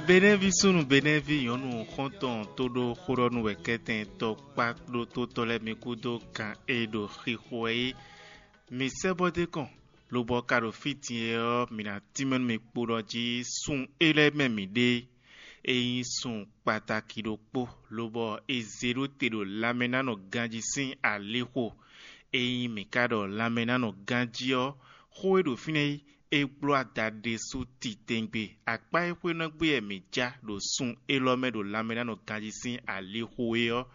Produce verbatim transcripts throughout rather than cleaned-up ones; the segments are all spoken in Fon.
Benɛ́ví súnnu, Benɛ́ví nyɔ̌nu xɔ́ntɔn tó ɖó xó ɖɔ nú wɛ kɛ́tɛn tɔkpá ɖótótɔ́ lɛ́ɛ mi kúdó kan e ɖo xixo wɛ é. Mi sɛ́ bɔ dé kɔn, lobɔ ka ɖo fí din é ɔ́, mi ná tínmɛ nú mi kpo ɖɔ jí sun é lɛ́ɛ mɛ mǐ ɖe. É nyí sun kpataki ɖokpó, lobɔ è zě ɖó te ɖo lanmɛnánɔ ganjí sín alixo. Ényí mǐ ka ɖɔ lanmɛnánɔ ganjí ɔ́, xó e ɖo fínɛ́ é, é gbló ada ɖésú titewungbe. Akpá e xwé nɔ gbé wɛ mǐ já ɖo sun élɔ́ mɛ ɖo lanmɛnánɔ ganjí sín alixo é ɔ́,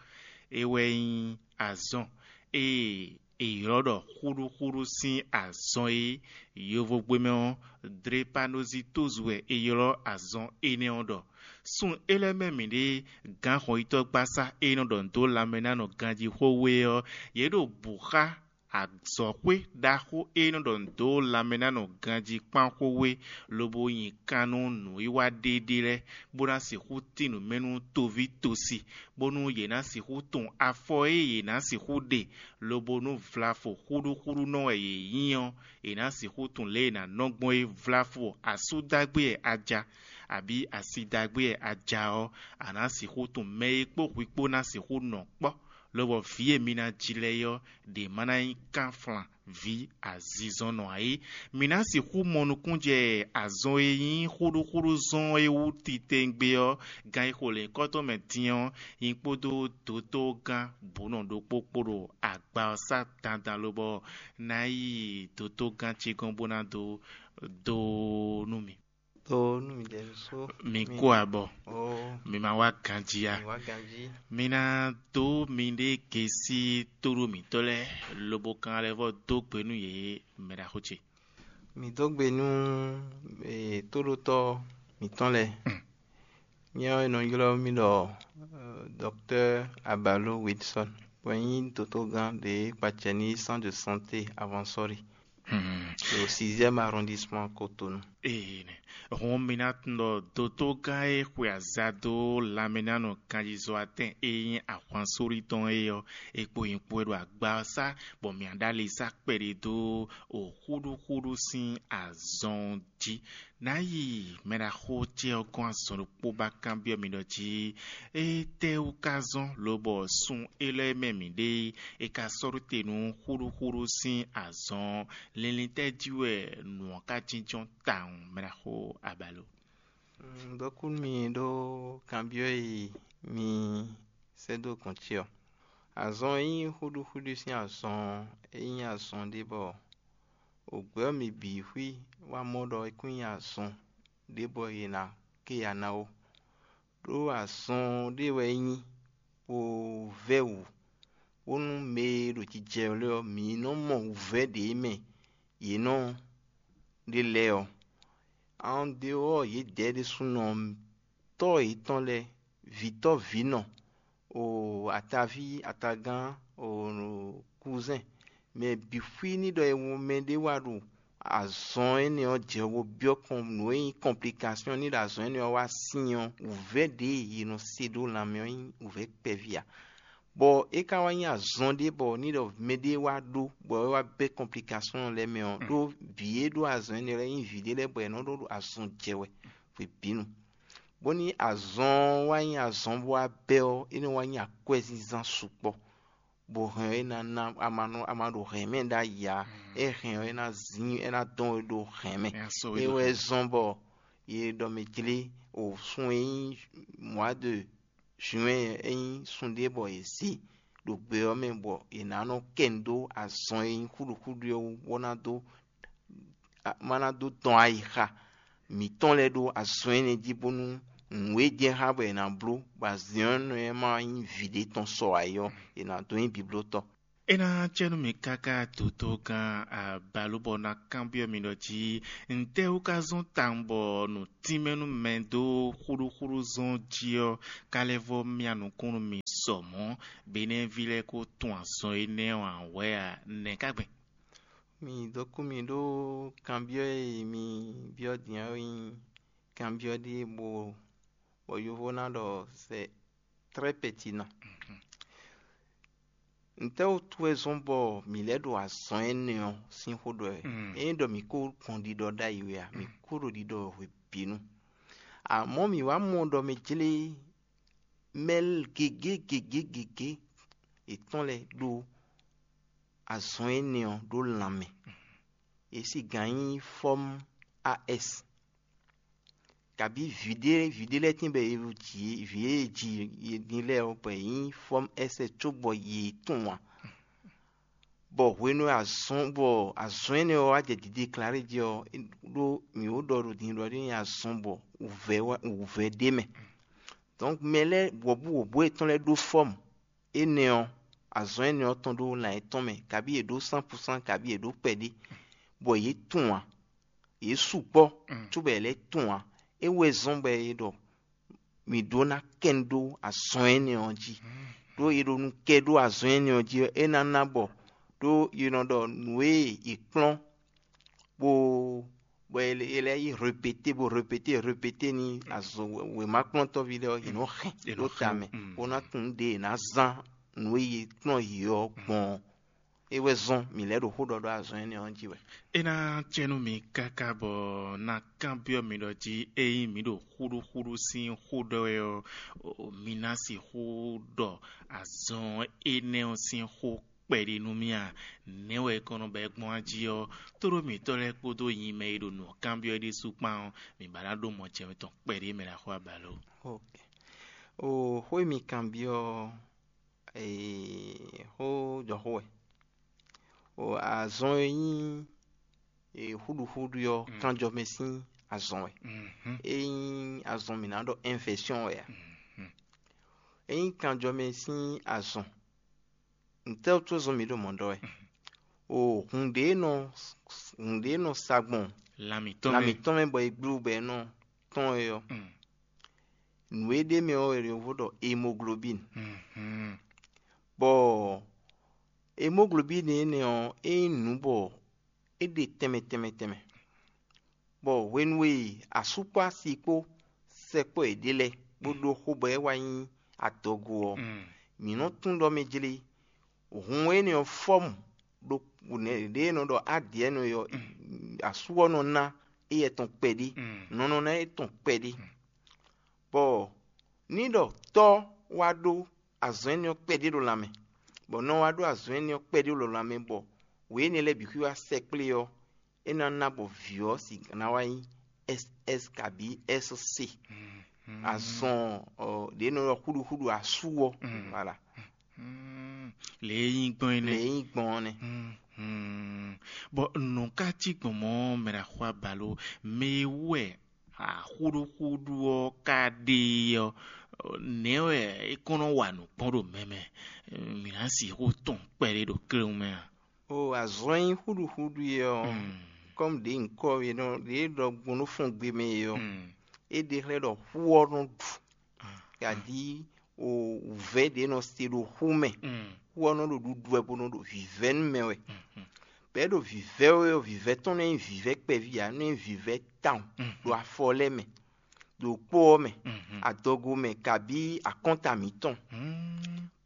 é wɛ nyí azɔn e è ylɔ́ ɖɔ xúɖúxúɖú sín azɔn e yovogbe mɛ ɔ́, Dlepanozitózu wɛ è ylɔ́ azɔn énɛ́ ɔ́ ɖɔ. Sun é lɛ́ɛ mɛ mǐɖée, gǎnxɔyítɔ́gbasá e nɔ ɖɔ nǔ dó lanmɛnánɔ ganjí xó wé ɔ́, yě ɖo bǔ xá azɔ̌xwé ɖaxó e nɔ ɖɔ nǔ dó lanmɛnánɔ ganjí kpán xó wé, lobo nyi kan nú nǔwiwa ɖéɖé lɛ́ɛ, bó ná sixú tín nǔ mɛ nú toví tosi, bónú yě ná sixú tunwun afɔ e yě ná sixú ɖe, lobo nú vlafo xúɖúxúɖú nɔ wɛ yě nyí ɔ́, yě ná sixú tunwun lě e è nǎ nɔ gbɔn é. Vlafo asú dágbé wɛ a ja, abǐ asi dágbé wɛ a ja ɔ́, a nǎ sixú tunwun mɛ e kpó hwi kpó ná sixú nɔ kpɔ́, lobɔ vǐ e mi ná ji lɛ́ɛ é ɔ́, ɖě ma ná nyí kánflan vǐ azinzɔnnɔ ǎ é. Mǐ ná sixú mɔ nukúnjɛ azɔn e nyí xúɖúxúɖú zɔn é wú titewungbe ɔ́, gan e xo lěhunkɔtɔn mɛ din ɔ́, nyí kpódó dotogán bǔnɔ ɖokpó kpó ɖo agba ɔ́ sá dandan lobɔ ná yi dotogán ce gɔ́n bó ná dó dó nú mì. Dó nú mì ɖɛ̌ sú. Mi kú abɔ. Ó, mi ma wá ganjí a? Mi wá ganjí. Mi ná dó miɖée gesi tóɖó mǐtɔn lɛ́ɛ, lobo kan lɛ́ vɔ dó gbe nú yě, mɛ ɖaxó ce. Mi dó gbe nú, eh, tóɖótɔ́ mǐtɔn lɛ́ɛ. Mm. Nyɛ ɔ́, è nɔ ylɔ́ mì ɖɔ, eh, Docteur Abalo Wilson, bɔ nyí dotogán ɖě kpacɛ ní centre de santé Avansɔ́li. Hmm. Ɖo sixième arrondissement Cotonou. Ee, nɛ. Hɔn mi ná tunwun ɖɔ dotogán e xwe aza dó lanmɛnánɔ kanjizɔ́watɛn e nyí ahwansórí tɔn é ɔ́, é kpo nyí kpo e ɖo agba ɔ́ sá, bɔ mǐ ɖó ali sá kpɛɖé dó o xúɖúxúɖú sín azɔn jí. Ná yi mɛɖaxó ce ɔ́ gɔ́n azɔn ɖokpó bó kanbyɔ́ mi ɖɔ jí, étɛ́wú ka zɔ́n lobɔ sun élɔ́ e mɛ mǐ ɖe é, é ka sɔ́ ɖó te nú xúɖúxúɖú sín azɔn? Linlin tɛ́ jí wɛ nǔ ɔ́ ka jínjɔ́n tawun, mɛɖaxó Abalo? Mm, dɔkú mi ɖó kanbyɔ́ e mi sɛ́ dó gɔ̌n ce ɔ́. Azɔn e nyí xúɖúxúɖú sín azɔn ɔ́, é nyí azɔn ɖé bɔ ògbɛ́ ɔ́ mi bǐ xwí wá mɔ ɖɔ é kún nyí azɔn ɖé bɔ è nǎ ké ya ná ó. Ɖó azɔn ɖé wɛ é nyí, bó vɛ́ wǔ, bónú mɛ e ɖo jijɛ lɛ́ɛ ɔ́, mǐ nɔ mɔ wǔvɛ́ ɖě mɛ yě nɔ ɖe lɛ́ɛ ɔ́. An dehors yědɛɛ ɖésúnɔ, tɔ́ yětɔn lɛ́ɛ, vǐtɔ́ vǐnɔ, o ataví atagán, o kuzɛ́n, mɛ bǐ xwí ní ɖɔ e mɛ ɖé wá ɖo azɔn énɛ́ ɔ́ jɛ bo byɔ́ kɔn nǔ e nyí complication ní ɖo azɔn énɛ́ ɔ́ wá sín ɔ́, wǔvɛ́ ɖě e è nɔ se ɖó lanmɛ ɔ́ nyí wǔvɛ́ kpɛví ǎ. Bɔ é ka wá nyí azɔn ɖé bɔ ní ɖɔ mɛɖé wá ɖó bɔ é wá bɛ́ complication lɛ́ɛ mɛ ɔ́, ɖó vǐ e ɖó azɔn énɛ́ lɛ́ɛ nyí vǐ ɖé lɛ́ɛ bɔ è nɔ ɖó azɔn jɛ wɛ hwebǐnu. Bónú azɔn ɔ́ wá nyí azɔn bó wá bɛ́ ɔ́, é nɔ wá nyí akwɛ́zínzán sukpɔ́, bɔ hɛn ɔ́ é ná ná a ma nɔ a ma ɖo hɛn mɛ ɖ'ayǐ ǎ. É hɛn ɔ́ é ná zín é ná dɔn we ɖo hɛn mɛ. É wɛ zɔ́n bɔ yě ɖɔ mɛ jlé o sun e nyí mois de juin é nyí sun ɖé bɔ è zě ɖo gbe ɔ́ mɛ bɔ è nǎ nɔ kɛ nu dó azɔn e nyí xúɖuxúɖu ɔ́ wú bó ná dó ma ná dó tɔn ayixa mǐtɔn lɛ́ɛ ɖó azɔn énɛ́ jí bónú nǔ e jɛ xá bɔ è nǎ bló bɔ azɔn énɛ́ ma nyí vǐ ɖé tɔn sɔ ǎ é ɔ́, è nǎ dó nyí biblótɔ́. É ná cɛ nú mi káká dotogán Abalú bɔ ná kanbyɔ́ mi ɖɔ jí ntɛ́ wú ka zɔ́n tawun bɔ nǔ tínmɛ nú mɛ dó xúɖúxúɖú zɔn jí ɔ́, ka lɛ́ vɔ́ myá nukún nú mi sɔ mɔ̌, Benɛ́ví lɛ́ɛ ko tunwun azɔn énɛ́ ɔ́ ǎ wɛ a? Nɛ̌ ka gbɛn? Mi dó kú mi ɖó kanbyɔ́ e mi byɔ́ din ɔ́ nyí kanbyɔ́ ɖé bɔ bɔ yovo ná ɖɔ c'est très pertinent. Ntɛ́ wútu wɛ zɔ́n bɔ mǐ lɛ́ ɖo azɔn énɛ́ ɔ́ sín xó ɖɔ wɛ? Ényí ɖɔ mǐ ko gbɔn ɖiɖɔ ɖ'ayǐ wɛ a? Mǐ ko ɖo ɖiɖɔ wɛ hwebǐnu. Amɔ̌ mǐ wá mɔ ɖɔ mɛ jlé mɛ gěgé gěgé gěgé yětɔn lɛ́ɛ ɖó azɔn énɛ́ ɔ́ ɖó lanmɛ. Yě sigǎn nyí fɔ́mú A S, kabǐ vǐ ɖé vǐ ɖé lɛ́ɛ tíin bɔ è ji vǐ e è ji din lɛ́ɛ ɔ́, bɔ è nyí fɔ́mú S cóbɔ yě tunwun ǎ. Bɔ hwenu e azɔn bɔ azɔn énɛ́ ɔ́ wá jɛ dǐdé Klari jí ɔ́, ɖó mǐ ó ɖɔ ɖo din ɖɔ é nyí azɔn bɔ wǔvɛ́ wá- wǔvɛ́ ɖ'é mɛ. Dɔ̌nkʋ mɛ lɛ́ɛ wɔ̌buwɔ̌bú yětɔn lɛ́ɛ ɖó fɔ́mu énɛ́ ɔ́, azɔn énɛ́ ɔ́ tɔn ɖó lan yětɔn mɛ, kabí yě ɖó sánpusán, kabí yě ɖó kpɛɖé, bɔ yě tunwun ǎ, yě sukpɔ́ cóbɔ yě lɛ́ tunwun ǎ. É wɛ zɔ́n bɔ è ɖɔ mǐ ɖó ná kɛn ɖó azɔn énɛ́ ɔ́ jí, ɖó è ɖo nu kɛ ɖó azɔn énɛ́ ɔ́ jí ɔ́, é ná ná bɔ ɖó è nɔ ɖɔ nǔ e è kplɔ́n bó bɔ è lɛ́ yi répété bó répété répété ní azɔn wěmakplɔ́ntɔ́ví lɛ́ɛ ɔ́, yě nɔ hɛn ɖó ta mɛ, bó ná tunwun ɖě è nǎ zán nǔ e è kplɔ́n yě ɔ́ gbɔn ɔ́. É wɛ zɔ́n mǐ lɛ́ ɖo xó ɖɔ ɖó azɔn énɛ́ ɔ́ jí wɛ. É ná cɛ nú mi káká bɔ ná kanbyɔ́ mi ɖɔ jí ényí mǐ ɖo xúɖúxúɖú sín xó ɖɔ wɛ ɔ́, mi ná sixú ɖɔ azɔn énɛ́ ɔ́ sín xó kpɛɖé nú mì a? Nɛ̌ wɛ é kɔn nɔ ba ɛ gbɔn jí ɔ́, tóɖó mǐtɔn lɛ́ɛ kpódó nyi mɛ e ɖo nǔ kanbyɔ́ é ɖésú kpán ɔ́, mǐ ba ná ɖó mɔ jɛmɛ tɔn kpɛɖé mɛ ná xo abalo. O xó e mi kanbyɔ́ ɔ́, xó jɔxó wɛ. O azɔn e nyí xúɖuxúɖu ɔ́, kanjɔ mɛ sín azɔn wɛ. É nyí azɔn mǐ ná ɖɔ invɛsyɔn wɛ a? É nyí kanjɔ mɛ sín azɔn. Ntɛ́ wútu zɔn mǐ ɖo mɔ̌ ɖɔ wɛ? O hun ɖě e nɔ hun ɖě e nɔ sa gbɔn lan mǐtɔn mɛ bɔ è gblú bɔ è nɔ tɔn é ɔ́, nǔ e ɖ'é mɛ ɔ́ wɛ è nɔ ɖɔ hémoglobín. Bɔ hémoglobín énɛ́ ɔ́, é nyí nǔ bɔ é ɖe tɛnmɛ tɛnmɛ tɛnmɛ. Bɔ hwenu e asú kpó asi kpó sɛkpɔ́ yěɖée lɛ́ɛ bó ɖó xó bɔ é wá nyí adɔgo ɔ́, mǐ nɔ tunwun ɖɔ mɛ jlé hun énɛ́ ɔ́ fɔ́mu ɖo ɖě e nɔ ɖɔ ádǐɛnɔ é ɔ́, asú ɔ́ nɔ ná éyɛ́ tɔn kpɛɖé, nɔ nɔ ná é tɔn kpɛɖé. Bɔ ní ɖɔ tɔ́ wá ɖó azɔ̌ énɛ́ ɔ́ kpɛɖé ɖo lanmɛ, bɔ nɔ wá ɖó azɔ̌ énɛ́ ɔ́ kpɛɖé ɖo lanmɛ, bɔ wě énɛ́ lɛ́ɛ bǐ xwí wá sɛkplé ɔ́, é ná ná bɔ vǐ ɔ́ sigǎn ná wá nyí S S kabǐ S C. Azɔn ɖě nɔ ylɔ́ xúɖuxúɖu asú ɔ́, voilà. Lě e nyí gbɔn é nɛ́. Lě e nyí gbɔn ɔ́ nɛ́. Bɔ nǔ ka cí gbɔn mɔ̌ mɛ ɖo axɔ abalo mɛ e wú wɛ axúɖúxúɖú ɔ́ ka ɖe é ɔ́, nɛ̌ wɛ é kɔn nɔ wa nǔ gbɔn ɖo mɛ mɛ? Mǐ ná sixú tunwun kpɛɖé ɖo kléwún mɛ a? O azɔn e nyí xúɖuxúɖu é ɔ́, kɔ́mu ɖě nyǐkɔ e nɔ ɖě ɖɔ gbɔn nú fɔngbe mɛ é ɔ́, é ɖe xlɛ́ ɖɔ xú ɔ́ nɔ ɖu, kaɖí wǔvɛ́ ɖě nɔ se ɖo xú mɛ. Xú ɔ́ nɔ ɖo ɖuɖu wɛ bó nɔ ɖo vǐvɛ́ nú mɛ wɛ. Bɛ̌ ɖo vǐvɛ́ wɛ ɔ́, vǐvɛ́ tɔn nɔ nyí vǐvɛ́ kpɛví ǎ, nɔ nyí vǐvɛ́ tawun ɖo afɔ lɛ́ɛ mɛ, ɖo kpó ɔ́ mɛ, adɔgo mɛ, kabí akɔ́nta mǐtɔn.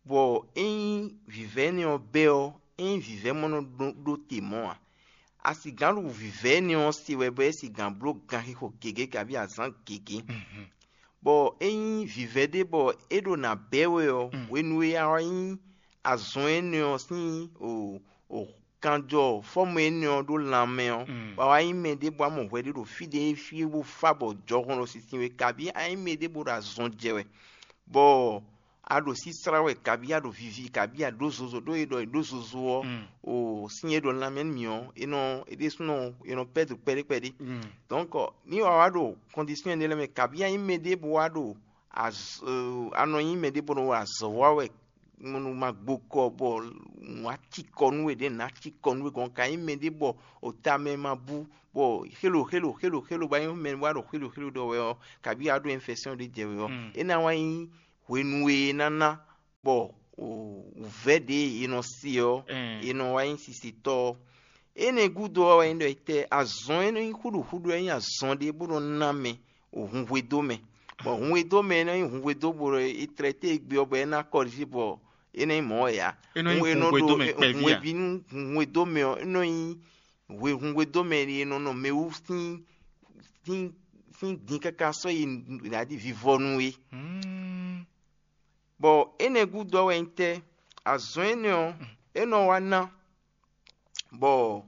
Bɔ ényí vǐvɛ́ énɛ́ ɔ́ bɛ́ ɔ́, ényí vǐvɛ́ mɔ nɔ ɖó te mɔ̌ ǎ, a sigǎn ɖo vǐvɛ́ énɛ́ ɔ́ se wɛ bɔ é sigǎn bló ganxixo gěgé kabí azǎn gěgé. Bɔ ényí vǐvɛ́ ɖé bɔ é ɖo nǎ bɛ́ wɛ ɔ́, hwenu e a wá nyí azɔn énɛ́ ɔ́ sín o o kanjɔ fɔ́mɔ énɛ́ ɔ́ ɖó lanmɛ ɔ́, bɔ a wá nyí mɛ ɖé bɔ a mɔ hwɛ ɖé ɖo fí ɖé fí bó fá bɔ jɔhɔn ɖo sinsin we, kabí a nyí mɛ ɖé bó ɖo azɔn jɛ wɛ, bɔ a ɖo síslá wɛ, kabí a ɖo vivi, kabí a ɖǒ zozo, ɖó e ɖɔ è ɖǒ zozo ɔ́, o sín e ɖo lanmɛ nú mì ɔ́, é nɔ é ɖésúnɔ è nɔ pɛ́ do kpɛɖé kpɛɖé. Donc ní wa wá ɖo kɔndisiyɔn énɛ́ lɛ́ɛ mɛ, kabí a nyí mɛ ɖé bó wá ɖo a nɔ nyí mɛ ɖé bó nɔ wa azɔ̌ wa wɛ nú ma gbo kɔ bɔ nǔ wá cikɔ nú we ɖě nǔ ná cikɔ nú we gɔn ka nyí mɛ ɖé bɔ o ta mɛ ma bú bɔ xélo xélo xélo xélo ba nyí mɛ wá ɖo xélo xélo ɖɔ wɛ ɔ́, kabí a ɖó infection ɖé jɛ we ɔ́, é ná wá nyí hwenu e é ná ná bɔ wǔvɛ́ ɖě e è nɔ se ɔ́, è nɔ wá nyí sisitɔ́ ɔ́. Énɛ́ gúdo ɔ́ wɛ nyí ɖɔ etɛ́ azɔn e nɔ nyí xúɖuxúɖu wɛ nyí azɔn ɖé bó nɔ ná mɛ hunhwedó mɛ, bɔ hunhwedó mɛ e nɔ nyí hunhwedó bó è tlɛ té e gbe ɔ́ bɔ é ná kɔlífí bɔ é ná nyí mɔ̌ wɛ ǎ. É nɔ nyí hunhwedó mɛ kpɛví a? Hunhweví nú hunhwedó mɛ ɔ́, é nɔ nyí hunhwedó mɛ e nɔ nɔ mɛ wú sín sín tín din káká sɔ́ yi nǔɖaɖi vivɔnu é. Hmm. Bɔ énɛ́ gúdo ɔ́ wɛ nyí tɛ́? Azɔn énɛ́ ɔ́, é nɔ wá ná bɔ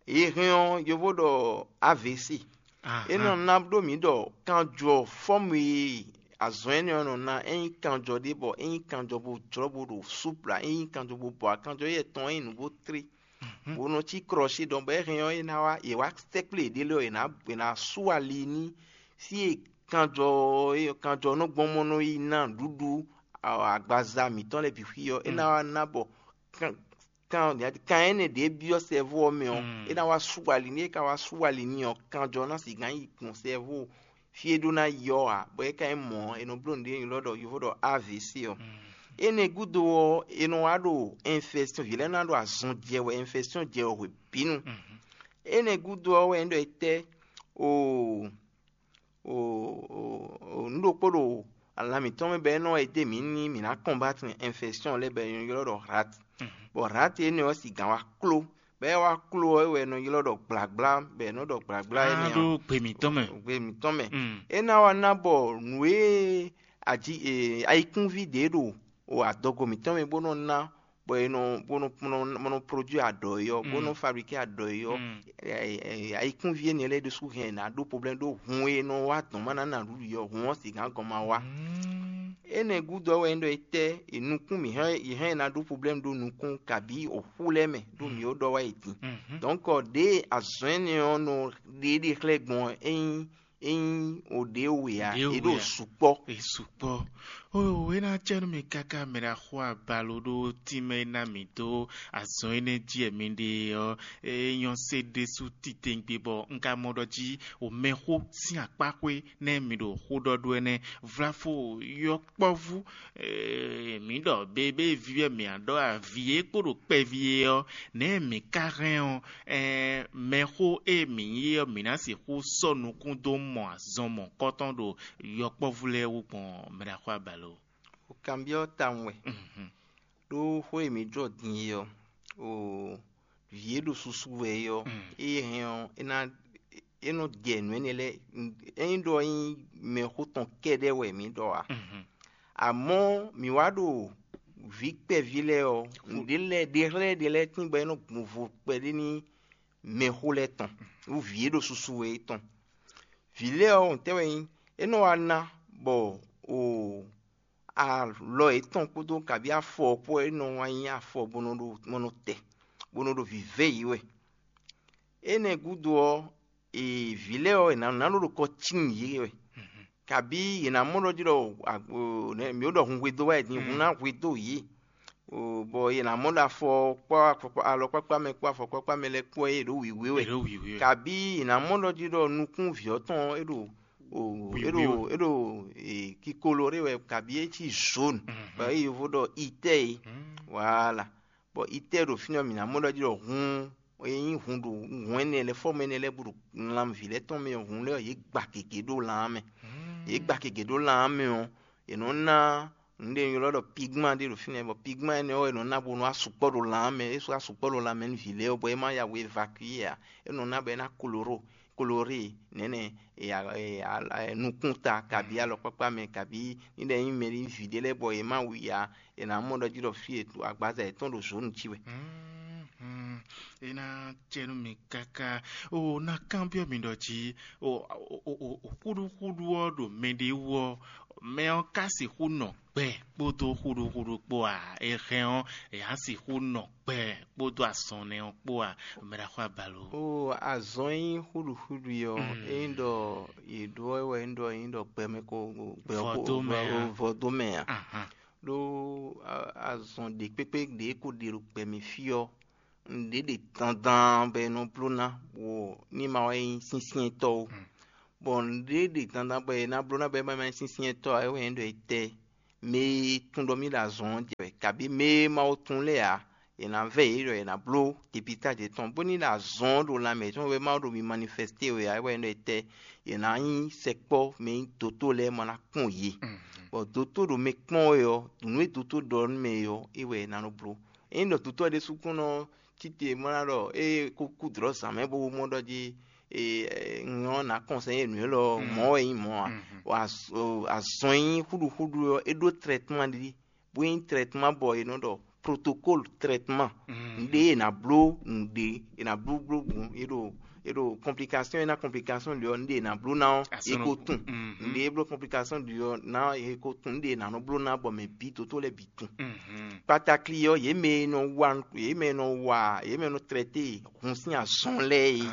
è hɛn ɔ́, yovo ɖɔ A V C. É nɔ ná ɖó mǐ ɖɔ kanjɔ fɔ́mu e azɔn énɛ́ ɔ́ nɔ ná, é nyí kanjɔ ɖé bɔ é nyí kanjɔ bo jlɔ́ bo ɖo súpla, é nyí kanjɔ bo bɔ akanjɔ éyɛ́ tɔn é nyí nǔ bó tlé, bó nɔ cí krɔ́sí ɖɔn bɔ é hɛn ɔ́, é ná wá, yě wá sɛ́kplé yěɖée lɛ́ɛ ɔ́, yě ná, yě ná sú ali ní fí e kanjɔ ɔ́, kanjɔ ɔ́ nɔ gbɔn mɔ nɔ yi ná nǔɖuɖu agbaza mǐtɔn lɛ́ɛ bǐ xwí ɔ́, é ná wá ná bɔ kan kan kan énɛ́ ɖě byɔ́ sɛ́vú ɔ́ mɛ ɔ́, é ná wá sú ali n'i. É ka wá sú ali n'i ɔ́, kanjɔ ná sixú yi gbɔn sɛ́vú fí e ɖó ná yi ɔ́ ǎ, bɔ é ka nyí mɔ̌ ɔ́, è nɔ bló nǔɖé e è nɔ ylɔ́ ɖɔ yovo ɖɔ A V C ɔ́. Énɛ́ gúdo ɔ́, è nɔ wá ɖo infɛstíɔn, vǐ lɛ́ɛ ná ɖo azɔn jɛ wɛ, infɛstíɔn jɛ wɛ hwebǐnu. Énɛ́ gúdo ɔ́ wɛ é ɖɔ é tɛ́? Oo, nǔ ɖokpó ɖo ala mǐtɔn mɛ bɔ é nɔ wá yi dó mǐ ní mǐ ná kɔnbatɛn infɛstíɔn lɛ́ɛ bɔ è nɔ ylɔ́ ɖɔ rat. Bɔ rat énɛ́ ɔ́, sigǎn wá kló, bɔ é wá kló ɔ́, é wɛ è nɔ ylɔ́ ɖɔ gblagbla, bɔ è nɔ ɖɔ gblagbla énɛ́ ɖó ɔ́ gbe mǐtɔn mɛ. Gbe mǐtɔn mɛ. É ná wá ná bɔ nǔ e aji e ayikúnví ɖě ɖo o adɔgo mǐtɔn mɛ bó nɔ ná, bɔ è nɔ bó nɔ bó nɔ bó nɔ produit adɔ̌ é ɔ́, bó nɔ fabriquer adɔ̌ é ɔ́, ayikúnví énɛ́ lɛ́ɛ ɖésú hɛn è nǎ ɖó problème ɖó hun e nɔ wá dɔn má ná ná nǔɖuɖu é ɔ́, hun ɔ́ sixú gɔn ma wá. Énɛ́ gúdo ɔ́ wɛ é ɖɔ é tɛ́ è nukún mǐ hɛn è hɛn è ná ɖó problème ɖó nukún kabǐ oxú lɛ́ɛ mɛ ɖó mǐ ó ɖɔ wá yi din. Donc ɖěe azɔ̌ énɛ́ ɔ́ nɔ ɖe ɖe xlɛ́ gbɔn ɔ́, é nyí é nyí o ɖě we ǎ, Ɖě é ɖo we ǎ. Sukpɔ́. È sukpɔ́. Oo, é ná cɛ nú mi káká mɛ ɖaxó abalo ɖó tínmɛ e ná mǐ dó azɔn énɛ́ jí wɛ mi ɖe ɔ́, é nyɔ́ sé ɖésú titewungbe bɔ un ka mɔ ɖɔ jí o mɛxó sín akpáxwé nɛ́ mi ɖo xó ɖɔ ɖó ɛnɛ́. Vlafo yɔkpɔ́vú, mǐ ɖɔ bébé vívɛ́ mǐ á ɖɔ avǐ e kpo ɖo kpɛví é ɔ́, nɛ̌ mǐ ka hɛn ɔ́, ɛɛ, mɛxó e mǐ nyí é ɔ́, mǐ ná sixú sɔ́ nukún dó mɔ azɔn mɔ̌hunkɔtɔn ɖo yɔkpɔ́vú lɛ́ɛ wú gbɔn mɛɖaxó abalo? O kanbyɔ́ tawun wɛ. Ɖó xó e mǐ jɔ din é ɔ́, o vǐ e ɖo susu wɛ é ɔ́, ée hɛn ɔ́, é ná é nɔ jɛ nǔ énɛ́ lɛ́ɛ. Ényí ɖɔ é nyí mɛxó tɔn kɛ́ɖɛ́ wɛ mǐ ɖɔ ǎ. Amɔ̌ mǐ wá ɖo vǐ kpɛví lɛ́ɛ ɔ́, nǔɖé lɛ́ɛ ɖe xlɛ́ ɖe lɛ́ɛ tín bɔ é nɔ gbɔn vo kpɛɖé nú mɛxó lɛ́ɛ tɔn, nú vǐ e ɖo susu wɛ é tɔn. Vǐ lɛ́ɛ ɔ́, ntɛ́ wɛ nyí? É nɔ wá ná bɔ o alɔ yětɔn kpódó kabí afɔ ɔ́ kpó, é nɔ wá nyí afɔ bó nɔ ɖo bó nɔ tɛ, bó nɔ ɖo vǐvɛ́ yě wɛ. Énɛ́ gúdo ɔ́, vǐ lɛ́ɛ ɔ́, è nǎ nǎ ɖo ɖo kɔ cín yě wɛ, kabí yě ná mɔ ɖɔ jí ɖɔ mǐ ɖɔ hun hwedó wá din, hun ná hwedó yě. Bɔ yě ná mɔ ɖɔ afɔ kpó alɔkpákpá mɛ kpó afɔkpákpá mɛ lɛ́ɛ kpó ɔ́, é ɖǒ wǐwé wɛ. Kabí yě ná mɔ ɖɔ jí ɖɔ nukún vǐ ɔ́ tɔn é ɖo é ɖo é ɖo kikolo ɖé wɛ, kabí é cí zone, bɔ é yovo ɖɔ itɛ́ é. Voilà. Bɔ itɛ́ ɖo fínɛ́ ɔ́, mǐ ná mɔ ɖɔ jí ɖɔ hun e nyí hun ɖo hun énɛ́ lɛ́ɛ, fɔ́mɔ énɛ́ lɛ́ɛ bó ɖo lanmɛ vǐ lɛ́ɛ tɔn mɛ ɔ́, hun lɛ́ɛ ɔ́, yě gba gěgé ɖó lan ɔ́ mɛ. Yě gba gěgé ɖó lan ɔ́ mɛ ɔ́, è nɔ ná nǔɖé e ylɔ́ ɖɔ pigman ɖé ɖo fínɛ́, bɔ pigman énɛ́ ɔ́, è nɔ ná bónú asukpɔ́ ɖo lan ɔ́ mɛ. É sɔ́ asukpɔ́ ɖo lanmɛ nú vǐ lɛ́ɛ ɔ́, bɔ é má ya wǔ évacuer ǎ. É nɔ ná bɔ é ná koloró, koloré nɛ̌nɛ nukún ta, kabí alɔkpákpá mɛ, kabí ní ɖɔ é nyí mɛ ɖé vǐ ɖé lɛ́ɛ bɔ yě má wu i ǎ, è nǎ mɔ ɖɔ jí ɖɔ fí e agbaza yětɔn ɖo zǒnu cí wɛ. É ná cɛ nú mi káká. O ná kanbyɔ́ mi ɖɔ jí o xúɖúxúɖú ɔ́ ɖo mɛɖé wú ɔ́, mɛ ɔ́ ka sixú nɔ gbɛ kpódó xúɖúxúɖú kpó a? È hɛn ɔ́, è á sixú nɔ gbɛ kpódó azɔn nɛ́ ɔ́ kpó a? Mɛ ɖaxó abalo. O azɔn e nyí xúɖúxúɖú ɔ́, é nyí ɖɔ yě ɖó ɔ́ wɛ é nyí ɖɔ é nyí ɖɔ gbɛmɛ ko gbɛ Vɔdó mɛ a? Vɔdó mɛ a? Ɖó azɔn ɖě kpékpé ɖě ko ɖe ɖo gbɛ mɛ fí ɔ́, nǔɖé ɖe dandan bɔ è nɔ bló ná, bɔ ní ma wá nyí syɛ́nsyɛ́ntɔ́ ó. Bɔ nǔɖé ɖe dandan bɔ è nǎ bló ná bɔ é ma ma nyí syɛ́nsyɛ́ntɔ́ ǎ, é wɛ nyí ɖɔ è tɛ mɛ e tunwun ɖɔ mì ɖo azɔn ɔ́ jɛ wɛ, kabí mɛ e ma ko tunwun lɛ́ɛ ǎ, è nǎ vɛ́ yě ɖɔ è nǎ bló depistage yětɔn, bónú è ɖo azɔn ɔ́ ɖo lanmɛ yětɔn wɛ, ma ɖo mi manifɛsté wɛ ǎ, é wɛ nyí ɖɔ è tɛ è nǎ nyí sɛkpɔ́ mɛ e nyí dotó lɛ́ɛ ma ná kpɔ́n yě. Bɔ dotó ɖo mɛ kpɔ́n wɛ ɔ́, nǔ e dotó ɖɔ nú mɛ é ɔ́, é wɛ è nǎ nɔ bló. Ényí ɖɔ dotó ɔ́ ɖésú kún nɔ tite mɔ ná ɖɔ é kó kú dlɔ̌ zǎn mɛ bó mɔ ɖɔ jí e, e, un ɔ́ nǎ kɔnsɛ́ nú élɔ́ ɔ́, mɔ̌ wɛ nyí mɔ̌ ǎ. Azɔn e nyí xúɖuxúɖu ɔ́, é ɖó trɛtman ɖi, bó nyí trɛtman bɔ è nɔ ɖɔ protokólu trɛtman. Nǔɖé è nǎ bló nǔɖé, è nǎ bló bló gbɔn é ɖo é ɖo kɔnplikasɔn e ná kɔnplikasɔn ɖi ɔ́, nǔɖé è nǎ bló ná ɔ́, é ko tunwun. Nǔɖé é bló kɔnplikasɔn ɖi ɔ́ ná é ko tunwun, nǔɖé è nǎ nɔ bló ná bɔ mɛ bǐ dótó lɛ́ɛ bǐ tunwun. Kpatakli ɔ́, yě mɛ e nɔ wa yě mɛ e nɔ wa yě mɛ e nɔ trɛté hun sín azɔn lɛ́ɛ é,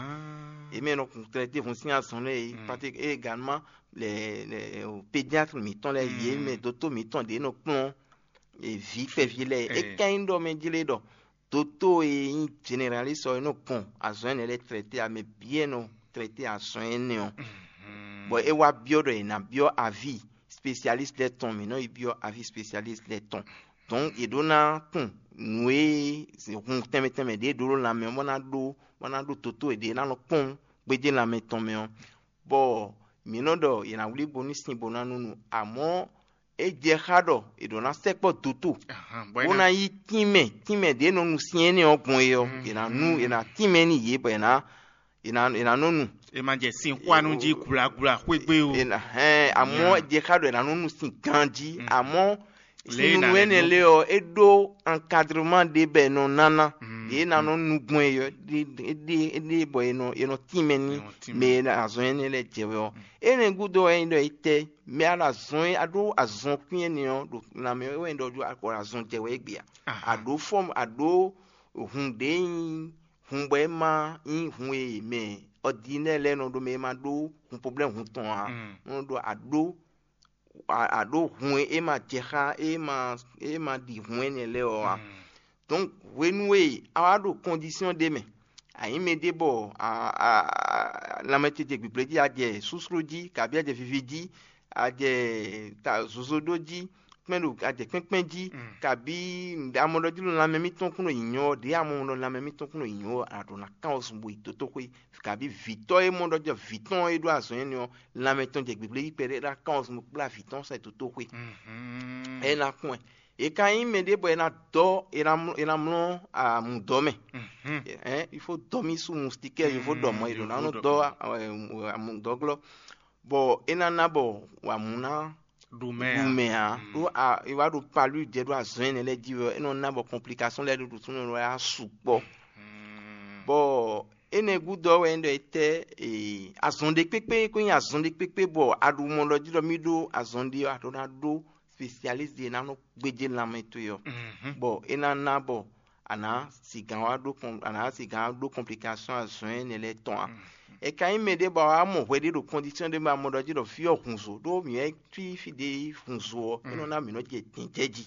yě mɛ e nɔ trɛté hun sín azɔn lɛ́ɛ é, pati égalman lɛ pédiatre mǐtɔn lɛ́ɛ, yě mɛ dótó mǐtɔn ɖě nɔ kplɔ́n vǐ kpɛví lɛ́ɛ é. É ka nyí ɖɔ mɛ jlé ɖɔ dótó e nyí jeneralísi ɔ́, é nɔ gbɔn azɔn énɛ́ lɛ́ɛ trɛté ǎ, mɛ bǐ e nɔ trɛté azɔn énɛ́ ɔ́, bɔ é wá byɔ́ ɖɔ è nǎ byɔ́ aví spesialísi lɛ́ɛ tɔn, mǐ nɔ yi byɔ́ aví spesialísi lɛ́ɛ tɔn. Dɔ̌n yě ɖó ná tunwun nǔ e hun tɛnmɛ tɛnmɛ ɖě ɖó ɖo lanmɛ ɔ́, bó ná ɖó bó ná ɖó dótó e ɖě ná nɔ kpɔ́n gbéjé lanmɛ tɔn mɛ ɔ́, bɔ mǐ nɔ ɖɔ è nǎ wlí bo ní sin bo ná nú nu. Amɔ̌ é jɛ xá ɖɔ è ɖǒ ná sɛkpɔ́ doto, bó ná yí tínmɛ tínmɛ ɖě nɔ nu syɛ́n énɛ́ ɔ́ gbɔn é ɔ́, è nǎ nú è nǎ tínmɛ n'i yě bɔ è nǎ è nǎ è nǎ nɔ nu. È ma jɛ sin xwanu jí gblagbla xwé gbe o. È nǎ hɛn amɔ̌ é jɛ xá ɖɔ è nǎ nɔ nu sin ganjí, amɔ̌ sinunu énɛ́ lé ɔ́, é ɖó ankadrema ɖé bɔ è nɔ ná ná. Yě ná nɔ nu gbɔn é ɔ́, é ɖe é ɖe bɔ è nɔ è nɔ tínmɛ ní mɛ e azɔn énɛ́ lɛ́ɛ jɛ wɛ ɔ́. Énɛ́ gúdo wɛ é nyí ɖɔ é tɛ́ mɛ a ɖo azɔn é a ɖó azɔn kwín énɛ́ ɔ́ ɖo lanmɛ wɛ é nyí ɖɔ ɖó akɔ azɔn jɛ wɛ é gbe a? A ɖǒ fɔ́ a ɖǒ hun ɖě nyí hun bɔ é ma nyí hun e mɛ ɔdinɛ́ lɛ́ɛ nɔ ɖó mɛ é ma ɖó hun poblɛ́mu hun tɔn ǎ. Nɔ ɖɔ a ɖó a ɖǒ hun e é ma jɛ xá é ma é ma ɖi hun énɛ́ lɛ́ɛ ɔ́ ǎ. Donc hwenu e a wá ɖo kɔndisiyɔn ɖé mɛ, a nyǐ mɛ ɖé bɔ lanmɛ ce jɛ gbǐgblé jí, a jɛ slúslú jí, kabí a jɛ vivi jí, a jɛ zozo ɖó jí, kpɛ́n ɖo a jɛ kpɛ́nkpɛ́n jí, kabí amɔɖɔjíló lanmɛ mítɔn kún ɖo nyǐnyɔ́ ɔ́, ɖěe amɔɖɔ lanmɛ mítɔn kún ɖo nyǐnyɔ́ ɔ́, a ɖǒ ná kán ɔ́ zun bo yi dotóxwé. Kabí vǐtɔ́ e mɔ ɖɔ jɔ vǐ tɔn e ɖó azɔn énɛ́ ɔ́, lanmɛ tɔn jɛ gbǐgblé jí kpɛɖé ɖó ná kán ɔ́ zun bo kplá vǐ tɔn sɛ dotóxwé. É ná kún ɛ. È ka nyí mɛ ɖé bɔ è nǎ dɔ́ è nǎ mlɔ́ è nǎ mlɔ́ amǔdɔ́ mɛ. Hɛn il faut dɔ́ mì sú mustikɛ́ yovo ɖɔ mɔ̌ è ɖǒ ná nɔ dɔ́ amǔdɔ́glɔ́, bɔ é ná ná bɔ wǎmú ná ɖu mɛ ɖu mɛ ǎ. Ɖó è wá ɖo palú jɛ ɖó azɔn énɛ́ lɛ́ɛ jí wɛ é nɔ ná bɔ kɔnplikasɔn lɛ́ɛ ɖo ɖo súnnu lɛ́ɛ wá sukpɔ́. Bɔ énɛ́ gúdo ɔ́ wɛ é ɖɔ é tɛ́ azɔn ɖé kpékpé kó nyí azɔn ɖé kpékpé bɔ a ɖo mɔ ɖɔ jí ɖɔ mì ɖó azɔn ɖé ɔ́, a ɖó ná ɖó spesialísi ɖé ná nɔ gbéjé lanmɛ towe ɔ́, bɔ é ná ná bɔ a nǎ sigǎn wá ɖó kɔn a nǎ sigǎn wá ɖó kɔnplikasɔn azɔn énɛ́ lɛ́ɛ tɔn ǎ. È ka nyí mɛ ɖé bɔ a wá mɔ hwɛ ɖé ɖo kɔndisiyɔn ɖé mɛ a mɔ ɖɔ jí ɖɔ fí ɔ́ hun zo ɖó mǐ wɛ cí fí ɖé yi hun zo ɔ́, é nɔ ná mǐ nɔ jɛ dǐn jɛ jí.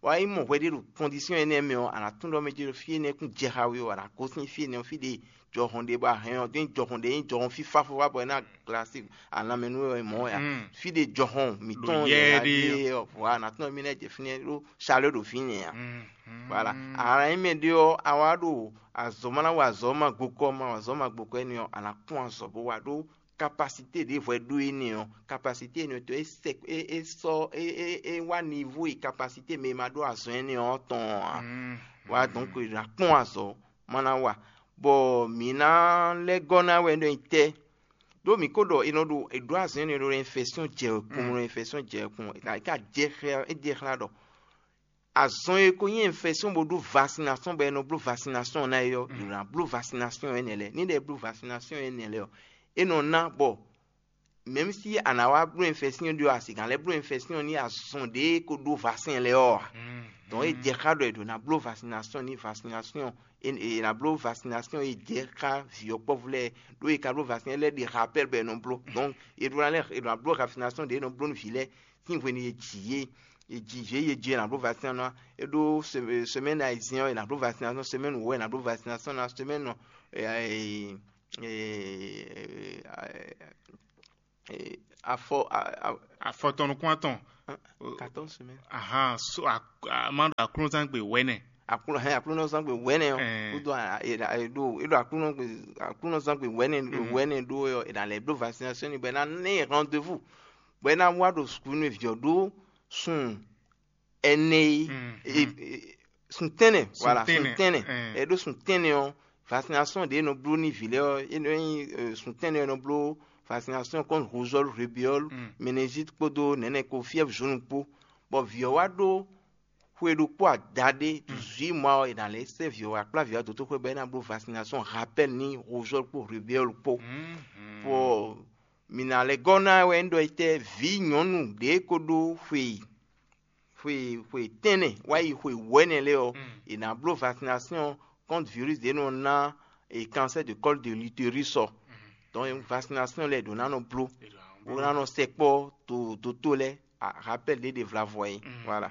Bɔ a yi mɔ hwɛ ɖé ɖo kɔndisiyɔn énɛ́ mɛ ɔ́, a nǎ tunwun ɖɔ mɛ jí ɖɔ fí énɛ́ kún jɛ xá we ɔ́, a nǎ gosín fí énɛ́ ɔ́, fí ɖé jɔhɔn ɖé bɔ a hɛn ɔ́, ɖó nyí jɔhɔn ɖé nyí jɔhɔn fífá fó wá bɔ é ná glasi alǎmɛ nú we mɔ̌ wɛ a? Fí ɖé jɔhɔn mǐtɔn yɛ ɖé ɔ́, vɔ̌ a nǎ tunwun mí ná jɛ fínɛ́ ɖó salé ɖo fínɛ́ ǎ. Voilà. A nǎ nyí mɛ ɖé ɔ́, a wá ɖo azɔ̌ ma ná wa azɔ̌ ma gbokɔ ma wa azɔ̌ ma gbokɔ énɛ́ ɔ́, a nǎ kpɔ́n azɔ̌ bó wa ɖó kapasité ɖěvo e ɖó énɛ́ ɔ́, kapasité énɛ́ ɔ́ tɔn é sɛ é é sɔ́ é é é wá nivo e kapasité mɛ e ma ɖó azɔ̌ énɛ́ ɔ́ tɔn ǎ. Wá donc è nǎ kpɔ́n azɔ̌ ma ná wa, bɔ mǐ ná lɛ́ gɔ́ ná wɛ ɖɔ nyí tɛ́. Ɖó mǐ ko ɖɔ è nɔ ɖo è ɖǒ azɔ̌ énɛ́ ɖo infɛsyɔn jɛ wɛkun, ɖo infɛsyɔn jɛ wɛkun, è ka jɛ xlɛ́ é jɛ xlɛ́ ɖɔ azɔn e ko nyí infɛsyɔn bó ɖó vasinasɔn bɔ è nɔ bló vasinasɔn ná é ɔ́, è nǎ bló vasinasɔn énɛ́ lɛ́ɛ. Ní ɖɔ è bló vasinasɔn énɛ́ lɛ́ɛ ɔ́, é nɔ ná bɔ mɛ̌m si a nǎ wá bló infɛsyɔn ɖé ɔ́, a sixá lɛ́ bló infɛsyɔn ní azɔn ɖě ko ɖó vasɛn lɛ́ɛ ɔ́ ǎ. Donc é jɛ xá ɖɔ è ɖǒ ná bló vasinasɔn ní vasinasɔn è nǎ bló vasinasɔn e jɛ xá vǐ ɔ́ kpɔ́vú lɛ́ɛ, ɖó è ka bló vasinasɔn lɛ́ɛ ɖi rapɛ́l bɔ è nɔ bló. Donc è ɖó ná lɛ́ è ɖǒ ná bló vasinasɔn ɖě è nɔ bló nú vǐ lɛ́ɛ sín hwenu e ji yě e ji vě e ji e nǎ bló vasinasɔn ná, é ɖó semɛ́ni ayizɛ́n ɔ́ è nǎ bló vasinasɔn, semɛ́ni wǒ è nǎ bló vasinasɔn ná, semɛ́ni afɔ afɔ tɔn nukún atɔn. Quatorze semaines. Ahan so a ma ɖo aklúnɔzángbe wɛnɛ. Aklúnɔ hɛn aklúnɔzángbe wɛnɛ ɔ kúdó eɖo eɖo aklúnɔzángbe wɛnɛ wɛnɛ ɖó ɔ è nǎ lɛ́ bló vasinasɔn ni bɔ è nǎ ná ɛ rendez-vous bɔ é ná wá ɖo sukúlu vǐ ɔ́ ɖó sun ɛnɛ e sun tɛnɛ voilà sun tɛnɛ ɛ ɖó sun tɛnɛ ɔ vaccination ɖě e nɔ bló n'i vǐ lɛ́ɛ ɔ́, é nɔ nyí suntɛ́nnɔ e nɔ bló vaccination contre rougeole, rubéole, méningite kpódó nɛ̌nɛ kpó, fièvre jaune kpó. Bɔ vǐ ɔ́ wá ɖó xwe ɖokpó adaɖé, dix-huit mois ɔ́, è nǎ lɛ́ sɛ́ vǐ ɔ́ wá kplá vǐ ɔ́ dó xwé bɔ é ná bló vaccination rappel n'i rougeole kpó rubéole kpó. Bɔ mǐ ná lɛ́ gɔ́ ná wɛ un ɖɔ étɛ́ vǐ nyɔ̌nu ɖě ko ɖó xwe xwe xwe tɛ́nnɛ wá yi xwe wɛ̌nɛ lɛ́ɛ ɔ́, è nǎ bló vaccination contre virus ɖě nɔ ná e cancer de col de l'utérus ɔ́. Donc vaccination lɛ́ɛ ɖǒ ná nɔ bló, bó ná nɔ sɛkpɔ́ to dótó lɛ́ɛ, rappel ɖě ɖe vlavɔ é. Voilà.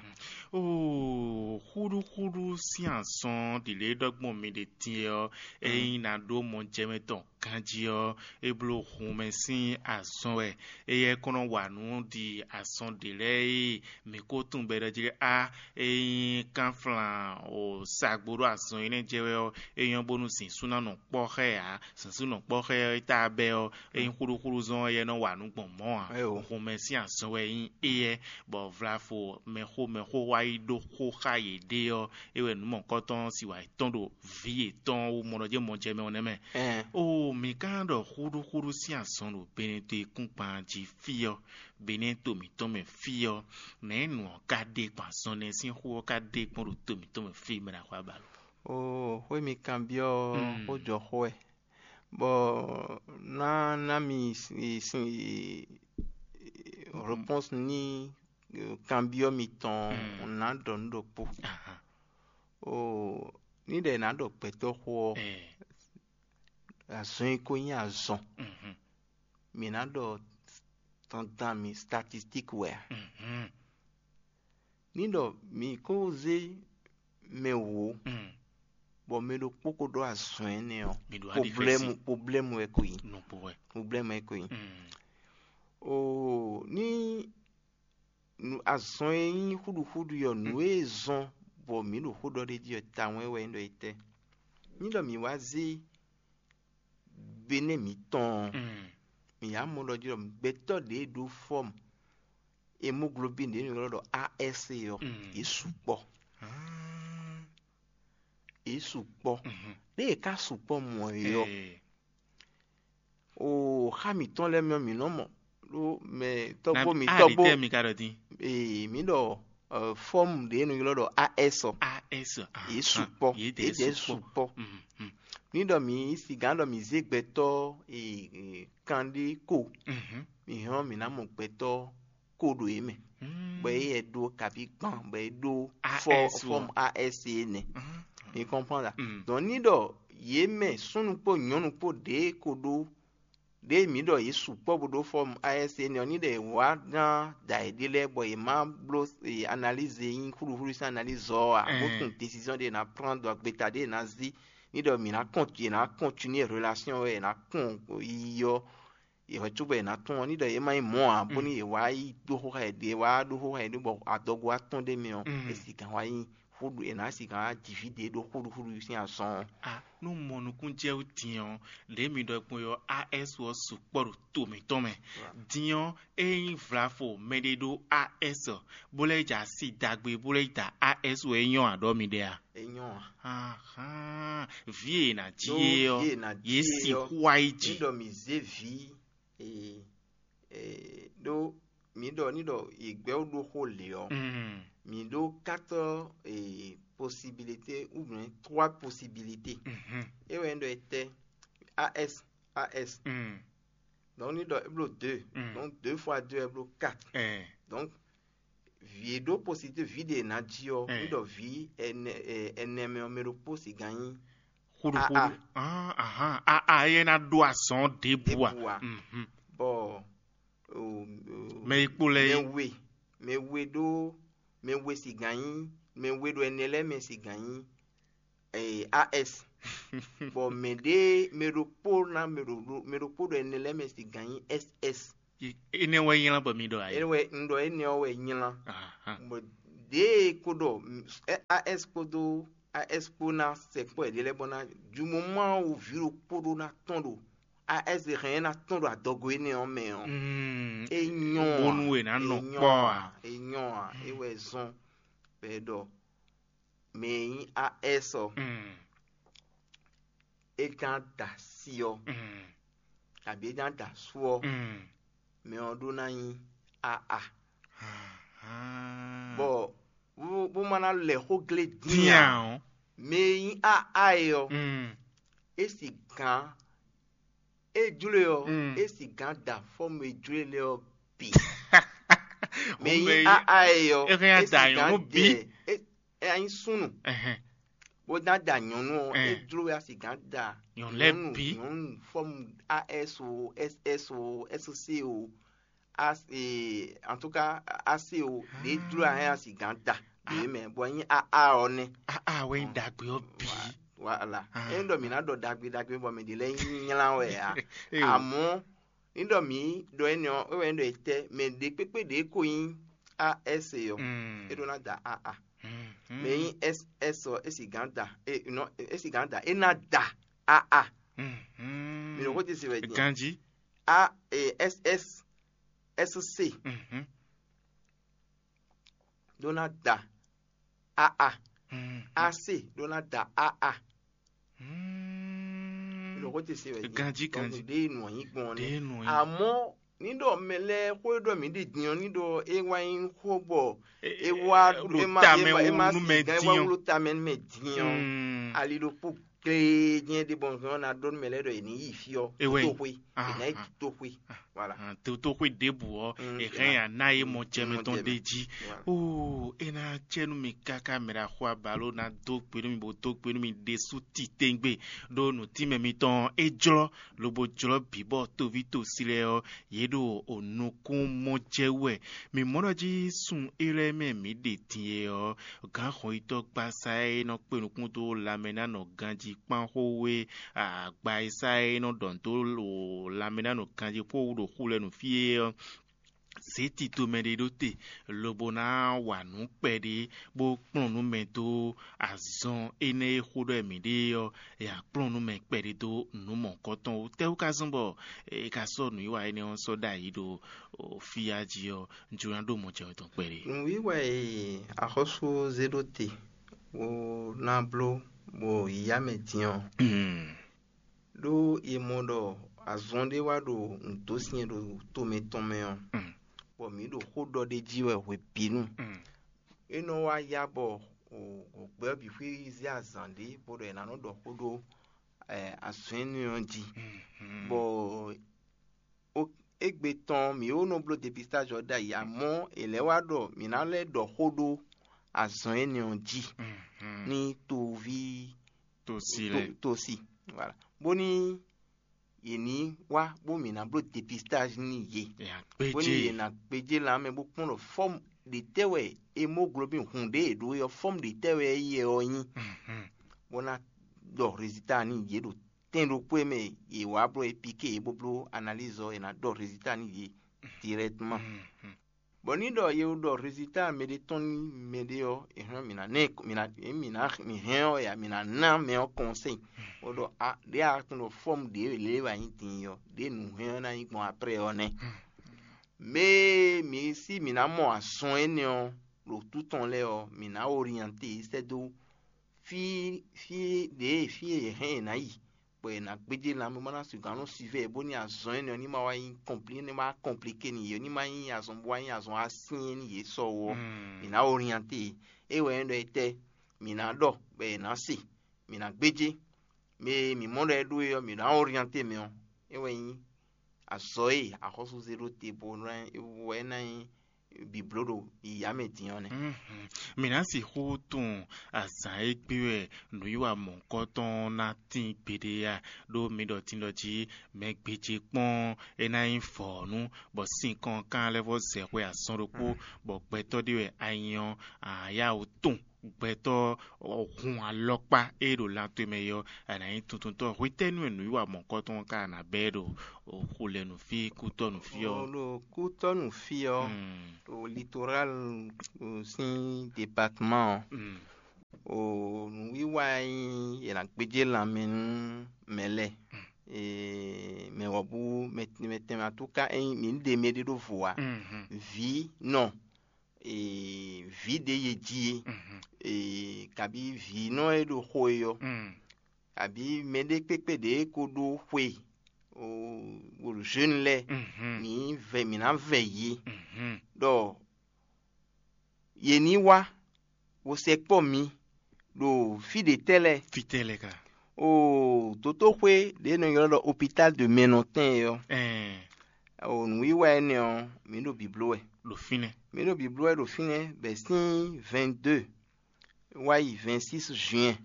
Oo, xúɖúxúɖú sín azɔn ɖi lě ɖɔgbɔn mi ɖe din ɔ́, ényí ná ɖó mɔjɛmɛ tɔn ganjí ɔ́, é bló hun mɛ sín azɔn wɛ. Éyɛ́ kɔn nɔ wa nǔ ɖi azɔn ɖě lɛ́ɛ e mǐ ko tunwun bɔ è ɖɔ jí ɖɔ á, ényí kánflan o sa gbo ɖó azɔn énɛ́ jɛ wɛ ɔ́, é nyɔ́ bónú zǐnzún ná nɔ kpɔ́ xá ɛ ǎ. Zǐnzún nɔ kpɔ́ xá ɛ tá bɛ́ ɔ́, ényí xúɖúxúɖú zɔn ɔ́, éyɛ́ nɔ wa nǔ gbɔn mɔ̌ ǎ. Xomɛ sín azɔn wɛ nyí éyɛ́, bɔ vlafo mɛxó mɛxó wá yi ɖó xó xá yěɖée ɔ́, é wɛ nǔ mɔ̌kɔtɔn ɔ́ si wǎ yi tɔ́n ɖo vǐ yětɔn wú mɔ ɖɔ jɛ́n mɔ jɛ mɛ ɔ́ nɛ́ mɛ. Oo, mǐ ka ɖɔ xúɖúxúɖú sín azɔn ɖo Benɛto e kún gban jí fí ɔ́, Benɛto mǐtɔn mɛ fí ɔ́, nɛ̌ nǔ ɔ́ ka ɖe gbɔn azɔn nɛ́ sín xó ɔ́ ka ɖe gbɔn ɖo to mǐtɔn mɛ fí mɛ ɖo axwá ba lo? Oo, xwé mi kanbyɔ́ xó jɔ xó wɛ, bɔ ná ná mi sin réponse ní kanbyɔ́ mitɔn ná ɖɔ nǔ ɖokpó. Oo, ní ɖe ná ɖɔ gbɛtɔ́ xó ɔ́, azɔn e ko nyí azɔn, mǐ ná ɖɔ dandan mǐ statistique wɛ a? Ní ɖɔ mǐ ko zé mɛ wǒ, bɔ mɛ ɖokpó ko ɖó azɔn énɛ́ ɔ́, problème wɛ ko nyí. Problème wɛ ko nyí. Oo, ní azɔn e nyí xúɖuxúɖu ɔ́, nǔ e zɔn bɔ mǐ ɖo xó ɖɔ ɖ'é jí ɔ́ tawun wɛ nyí ɖɔ é tɛ́? Ní ɖɔ mǐ wá zé Benɛ́ mǐtɔn ɔ́, mǐ yá mɔ ɖɔ jí ɖɔ gbɛtɔ́ ɖě e ɖó fɔ́mu hémoglobine ɖě e è nɔ ylɔ́ ɖɔ A S ɔ́, yě sukpɔ́. Yě sukpɔ́. Ɖé yě ka sukpɔ́ mɔ̌ é ɔ́, oo, xá mǐtɔn lɛ́ɛ mɛ ɔ́, mǐ nɔ mɔ ɖó mɛ tɔ́gbó mǐtɔn bó. Mi ka ɖɔ dín. Ee, mǐ ɖɔ fɔ́mu ɖě e è nɔ ylɔ́ ɖɔ A S ɔ́, A S. Yě sukpɔ́. Yě ɖɛ̌ sukpɔ́. Ní ɖɔ mǐ sigǎn ɖɔ mǐ zé gbɛtɔ́ kanɖé ko, mǐ hɔn mǐ ná mɔ gbɛtɔ́ ko ɖo yě mɛ, bɔ é yɛ ɖó kaví gban bɔ é ɖó fɔ́mu A S é nɛ́. Mi kɔnpɔ́n la? Donc ní ɖɔ yě mɛ súnnu kpó nyɔ̌nu kpó ɖě ko ɖó ɖěe mǐ ɖɔ yě sukpɔ́ bó ɖó fɔ́mu A S é nɛ́ ɔ́, ní ɖɔ yě wá gán da yě ɖé lɛ́ɛ bɔ yě má bló analyse e nyí xúɖuxúɖu sín analyse ɔ́ ǎ, bó tunwun décision ɖé è nǎ prend, ɖo agbeta ɖé è nǎ zí. Ní ɖɔ mǐ ná kɔn yě ná continuer relation wɛ è nǎ kpɔn yiyi ɔ́, yě hwɛ cóbɔ è nǎ tunwun ɔ́, ní ɖɔ yě má nyí mɔ̌ ǎ, bónú yě wá yi ɖó xó xá yě ɖé, wá ɖó xó xá yě ɖé bɔ adɔgo wá tɔ́n ɖ'é mɛ ɔ́, è sigǎn wá nyí xúɖu è nǎ sigǎn wá ji vǐ ɖě ɖó xúɖuxúɖu sín azɔn ɔ́. Nú mɔ nukúnjɛwú din ɔ́, lě mi ɖɔ gbɔn ɔ́, A S ɔ́ sukpɔ́ ɖo to mǐtɔn mɛ. Din ɔ́, ényí vlafo mɛɖé ɖó A S bó lɛ́ ja asi dagbe bó lɛ́ da A S wɛ é nyɔ́ aɖɔ mi ɖe a? É nyɔ́ a? Ahán, vǐ e è nǎ jí é ɔ́, yě sixú wá yi ji. Ní ɖɔ mǐ zé vǐ e e ɖó mǐ ɖɔ ní ɖɔ yě gbɛ́ wú ɖó xó lě ɔ́, mǐ ɖó quatre possibilité ou bien trois possibilité. É wɛ nyí ɖɔ é tɛ́ A S A S. Donc ní ɖɔ é bló deux. Donc deux fois deux é bló quatre. Donc vǐ e ɖó possibilité vǐ ɖe è nǎ jí ɔ́, ní ɖɔ vǐ ɛnɛ ɛnɛ mɛ ɔ́ mɛ ɖokpó sixú gán nyí xúɖuxúɖu. Ahán, a a yɛ ná ɖó azɔn ɖěbǔ a? Bɔ mɛ yi kpo lɛ mɛ we mɛ we ɖó mɛ we sixú gán nyí mɛ we ɖo ɛnɛ lɛ́ɛ mɛ sixú gán nyí ee A S. Bɔ mɛ ɖé mɛ ɖokpó ná mɛ ɖo mɛ ɖokpó ɖo ɛnɛ lɛ́ɛ mɛ sixú gán nyí S S. Énɛ́ wɛ nylá bɔ mi ɖɔ ayé. Énɛ́ wɛ un ɖɔ énɛ́ ɔ́ wɛ nylá. Bɔ ɖěe kó ɖɔ A S kpódó A S kpó ná sɛkpɔ́ yěɖée lɛ́ɛ bɔ ná jumɔmɔ wú vǐ ɖokpó ɖó ná tɔ́n ɖo A S hɛn ná tɔ́n ɖo adɔgo énɛ́ ɔ́ mɛ ɔ́, é nyɔ́ ǎ. Bónú è nǎ nɔ kpɔ́ ǎ. É nyɔ́ ǎ. É wɛ zɔ́n bɔ é ɖɔ mɛ e nyí A S ɔ́, é ján da asi ɔ́, abǐ é ján da asú ɔ́, mɛ ɔ́ ɖó ná nyí aa. Bɔ bó bó ma ná lɛ xó glé dín ǎ. Mɛ e nyí aa é ɔ́, é sigǎn é jló e ɔ́, é sigǎn da fɔ́mu e jló e lɛ́ɛ ɔ́ bǐ. Mɛ e nyí aa é ɔ́, é hɛn é da sigǎn nyɔ̌nu bǐ. Dɛ é é nyí súnnu, bó ná da nyɔ̌nu ɔ́, é jló e a sigǎn da nyɔ̌nu lɛ́ɛ bǐ. Nyɔ̌nu fɔ́mu as o, ss o, sc o, as e, en tout cas, ac o, ɖě jló a hɛn a sigǎn da ɖě mɛ, bɔ nyí aa ɔ́ nɛ́. Aa wɛ nyí ɖagbe ɔ́ bǐ. Voilà. É ɖɔ mǐ ná ɖɔ ɖagbe ɖagbe bɔ mɛ ɖě lɛ́ɛ nyí nylá wɛ ǎ. Amɔ̌ ní ɖɔ mǐ ɖɔ énɛ́ ɔ́, é wɛ nyí ɖɔ etɛ́, mɛ ɖě kpékpé ɖě ko nyí as ɔ́, é ɖó ná da aa. Mɛ nyí ss ɔ́, é sigǎn da, é nɔ é sigǎn da, é ná da aa. Mi ɖo xó ce se wɛ din. Ganji. A e, ss sc ɖó ná da aa. Ac ɖó ná da aa. Mi ɖo xó ce se wɛ din. Ganji, ganji. Ɖe nɔ nyí gbɔn nɛ. Amɔ́ ní ɖɔ mɛ lɛ́ɛ xó e ɖɔ mǐ ɖi din ɔ́, ní ɖɔ é wá nyí xó bɔ é wá ɖo é ma tamɛ é ma é ma wú nú mɛ din ɔ́. Wá wú ɖo tamɛ nú mɛ din ɔ́. Ali ɖokpó gléjɛ́n ɖé bɔ hɛn ɔ́ ná ɖɔ nú mɛ lɛ́ɛ ɖɔ è nǐ yi fí ɔ́. É wɛ nyí. Toxwe è nǎ yi toxwe. Voilà. Toxwe ɖěbǔ ɔ́, è hɛn ya ná yé mɔ jɛ mɛ tɔn ɖé jí. Oo, é ná cɛ nú mi káká mɛ ɖo axɔ abaló ná dó gbe nú mi bó dó gbe nú mi ɖésú titewungbe, ɖó nǔtínmɛ mitɔn é jlɔ́ lobo jlɔ́ bǐ bɔ toví tosi lɛ́ɛ ɔ́, yě ɖo nukún mɔ jɛ wú wɛ. Mǐ mɔ ɖɔ jí sun élɔ́ e mɛ mǐ ɖe din e ɔ́, gǎn hɔnyitɔ́ gbasa e nɔ kpe nukún dó lanmɛ ná nɔ ganjí kpán xó wé, agba e sá e nɔ ɖɔ nǔ dó lanmɛ ná nɔ ganjí xó wú ɖo xu lɛ́ɛ nu fí é ɔ́, zě tito mɛ ɖé ɖó te, lobo ná wa nǔ kpɛɖé bó kplɔ́n nú mɛ dó azɔn énɛ́ e xó ɖɔ mǐ ɖe ɔ́, è nǎ kplɔ́n nú mɛ kpɛɖé dó nǔ mɔ̌hunkɔtɔn wú. Tɛ́wú ka zɔ́n bɔ è ka sɔ́ nǔwiwa énɛ́ ɔ́ sɔ́ ɖ'ayǐ ɖo fí jí ɔ́, un jló ná ɖó mɔ jɛ wɛ tɔn kpɛɖé. Nǔwiwa e axɔ́sú zé ɖó te bó ná bló bɔ yǐyá mɛ din ɔ́, ɖó è mɔ ɖɔ azɔn ɖé wá ɖo nǔdósin e ɖo to mǐtɔn mɛ ɔ́, bɔ mǐ ɖo xó ɖɔ ɖ'é jí wɛ hwebǐnu. É nɔ wá yá bɔ gbɛ ɔ́ bǐ xwíxwí zé azǎn ɖé bó ɖɔ è nǎ nɔ ɖɔ xó ɖó azɔn énɛ́ ɔ́ jí, bɔ égbé tɔn mǐ ó nɔ bló depistáj ɔ́ ɖ'ayǐ, amɔ̌ è lɛ́ wá ɖɔ mǐ ná lɛ́ ɖɔ xó ɖó azɔn énɛ́ ɔ́ jí nú toví tosi lɛ́ɛ. Tosi. Voilà. Bóní yě ní wá bó mǐ ná bló depistáj nú yě. Bóní yě ná gbéjé lan mɛ bó kpɔ́n ɖɔ fɔ́mu ɖě tɛ́ wɛ hémoglobin hun ɖě è ɖǒ é ɔ́, fɔ́mu ɖě tɛ́ wɛ é yɛ ɔ́ nyí, bó ná ɖɔ rezilta nú yě ɖo tɛn ɖokpó e mɛ yě wá bló é píké yě bó bló analíz ɔ́, è nǎ ɖɔ rezilta nú yě dirɛkteman. Bɔ ní ɖɔ ye ɖɔ rezilta mɛ ɖé tɔn nú mɛ ɖé ɔ́, è hɛn mǐ ná ná ɛ- mǐ ná mǐ ná mǐ hɛn ɔ́ ya mǐ ná ná mɛ ɔ́ kɔnsɛ́yi. Bó ɖɔ a ɖě a tunwun ɖɔ fɔ́mu ɖě lě wɛ a nyí din ɔ́, ɖě nǔ hɛn ɔ́ ná nyí gbɔn aprɛ ɔ́ nɛ́. Mɛ e mǐ sí mǐ ná mɔ azɔn énɛ́ ɔ́ ɖo tǔ tɔn lɛ́ɛ ɔ́, mǐ ná oryɛnte yě sɛ́ dó fí fí ɖě fí e yě hɛn yě ná yi, bɔ è nǎ gbéjé lanmɛ bó ná sixú nɔ sivɛ bónú azɔn énɛ́ ɔ́ ní ma wá nyí kɔnplí ní ma wá kɔnplíké n'i yě ní ma nyí azɔn bó wá nyí azɔn asyɛ́n n'i yě sɔ ó. Mǐ ná orienté yě. É wɛ nyí ɖɔ étɛ́? Mǐ ná ɖɔ bɔ è nǎ se, mǐ ná gbéjé. Mɛ e mǐ mɔ ɖɔ é ɖó é ɔ́, mǐ ná orienté mɛ ɔ́. É wɛ nyí azɔ̌ e axɔ́súzé ɖó te bó wɛ ná nyí bǐbló ɖo yǐyá mɛ din ɔ́ nɛ́. Mǐ ná sixú tunwun azǎn e gbé wɛ nǔwiwa mɔ̌hunkɔtɔn ná tín gbeɖé a? Ɖó mi ɖɔ tindɔ jí mɛ gbéjé kpɔ́n é ná nyí vɔ̌nu, bɔ sínkɔn kan lɛ́ vɔ zɛ xwe azɔn ɖokpó, bɔ gbɛtɔ́ ɖé wɛ a nyí ɔ́, a yá wǔ tunwun gbɛtɔ́ hun alɔkpa e ɖo lan towe mɛ é ɔ́, a nǎ nyí tuntuntɔ́. Hwetɛ́nu e nǔwiwa mɔ̌hunkɔtɔn ɔ́ ka ná bɛ́ ɖo xulɛnufí kútɔ́nufí ɔ́? Ɖo kútɔ́nufí ɔ́, ɖo litoral sín departman ɔ́, nǔwiwa e nyí è nǎ gbéjé lanmɛ nú mɛ lɛ́ɛ, mɛ wɔ̌bú mɛ tɛnmɛ atúká, ényí mǐ ɖe mɛ ɖé ɖó vo ǎ, vǐ nɔ vǐ ɖě ye jí é, kabǐ vǐnɔ e ɖo xo e ɔ́, abǐ mɛɖé kpékpé ɖě ko ɖó xwe, o, o jeune lɛ́ɛ, Mhm. mǐ vɛ mǐ ná vɛ yě Mhm. ɖɔ yě ní wá, bó sɛkpɔ́ mi ɖo fí ɖě tɛ́ lɛ́ɛ. Fítɛ́ lɛ́ɛ ka? O dotóxwé ɖě nɔ ylɔ́ ɖɔ hôpital de Mɛnɔtɛn é ɔ́, Ɛɛ, o nǔwiwa énɛ́ ɔ́, mǐ ɖo bǐbló wɛ. Ɖo fínɛ́. Mǐ ɖo bǐbló wɛ ɖo fínɛ́ bɛ̌ sín vingt-deux wá yi vingt-six juin.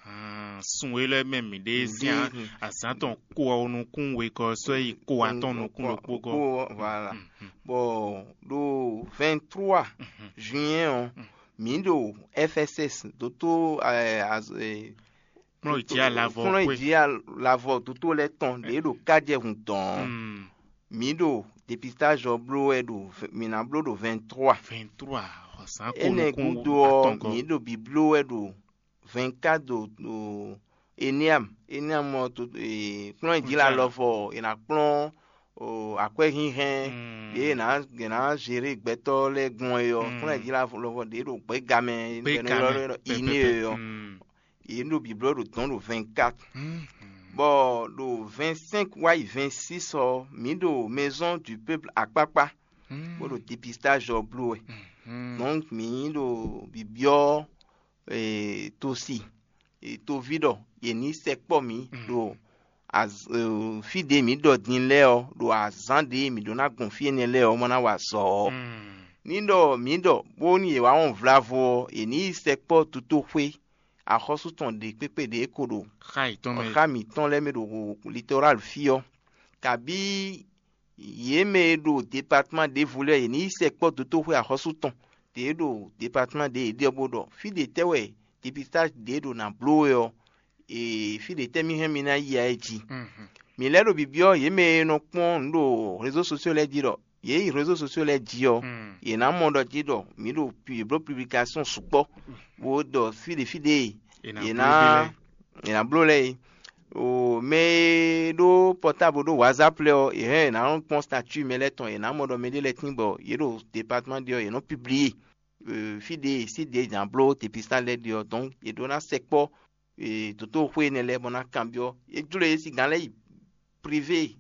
Hàn, sun élɔ́ mɛ mǐ ɖe Mǐ sín ɖe a- azǎn tɔn ko ɔ́ nukún wegɔ́ sɔ́ yi ko atɔn nukún ɖokpó gɔ́. Voilà. Bɔ ɖo vingt-trois juin ɔ́, mǐ ɖo F S S dótó, eh, az- eh, Kplɔ́n yi jí alavɔ kplɔ́n yi xwé. Jí alavɔ dótó lɛ́ɛ tɔn ɖě ɖo kájɛhun dɔn. Mm. Mǐ ɖo dépistage ɔ́ bló wɛ ɖo v- mǐ ná bló ɖo vingt-trois. Vingt-trois, azǎn ko Énɛ́ nukún gúdo ɔ́, atɔn gɔ́. Mǐ ɖo bǐbló wɛ ɖo vingt-quatre ɖo ɖo Eneam. Eneam ɔ́ to e, kplɔ́n e jí la Kplɔ́n jí la. Lɔvɔ è nǎ kplɔ́n o, akwɛ́ hínhɛ́n Mm. Ɖě è nǎ è nǎ zéré gbɛtɔ́ lɛ́ɛ gbɔn é ɔ́, Mm. Kplɔ́n e jí la lɔvɔ ɖě ɖo gbɛ́ gamɛ Gbɛ́ gbɛnú gamɛ, ylɔ́ ɖɔ pɛpɛpɛ. Iné é ɔ́. Mm. Yě ɖo bǐblɔ́ ɖo dɔ̌n ɖo vingt-quatre. Mm. Bɔ ɖo vingt-cinq wá yi vingt-six ɔ́, mǐ ɖo Maison du Peuple akpákpá, Mm. bó ɖo dépistage ɔ́ bló wɛ. Mm. Donc mǐ ɖo bǐbyɔ́ eh, tosi, eh, toví ɖɔ yě ní sɛkpɔ́ mǐ Mm. ɖo az- eh, fí ɖě mǐ ɖɔ din lɛ́ɛ ɔ́, ɖo azǎn ɖě mǐ ɖó ná gbɔn fí énɛ́ lɛ́ɛ ɔ́, ma ná wa azɔ̌ ɔ́. Mm. Ní ɖɔ mǐ ɖɔ bónú yě wá wɔn vlavo ɔ́, yě ní yi sɛkpɔ́ tutóxwé axɔ́sú tɔn ɖě kpékpé ɖě ko ɖo Xá yětɔn mɛ. Xá mǐtɔn lɛ́ɛ mɛ ɖo litɔ́ral fí ɔ́, kabí yě mɛ e ɖo departman ɖěvo lɛ́ɛ, yě ní yi sɛkpɔ́ dotóxwé axɔ́sú tɔn ɖě ɖo departman ɖě yě ɖe ɔ́, bó ɖɔ fí ɖě tɛ́ wɛ dépistage ɖě ɖo nǎ bló wɛ ɔ́, ee, fí ɖě tɛ́ mì hɛn mi ná yi ǎ é jí. Mhm. Mǐ lɛ́ ɖo byɔ́byɔ́ yě mɛ e nɔ kpɔ́n nǔ ɖo réseaux sociaux lɛ́ɛ jí ɖɔ yě yi réseaux sociaux lɛ́ɛ jí ɔ́, Mm. yě ná mɔ ɖɔ jí ɖɔ mǐ ɖo pu- yě bló publication sukpɔ́, bó ɖɔ fí ɖě fí ɖě È nǎ yě bló ná ɖé lɛ́ɛ. È nǎ bló lɛ́ɛ é. O mɛ e ɖó pɔtábl ɖó whatsapp lɛ́ɛ ɔ́, yě hɛn yě ná nɔ kpɔ́n statut mɛ lɛ́ɛ tɔn, yě ná mɔ ɖɔ mɛɖé lɛ́ɛ tín bɔ yě ɖo department ɖé ɔ́, yě nɔ publié, euh, fí ɖě sí ɖě yě ná bló dépistage lɛ́ɛ ɖe ɔ́, donc yě ɖó ná sɛkpɔ́, euh, dotóxwé énɛ́ lɛ́ɛ bɔ ná kanbyɔ́. É jló yě sígán lɛ́ɛ yi privé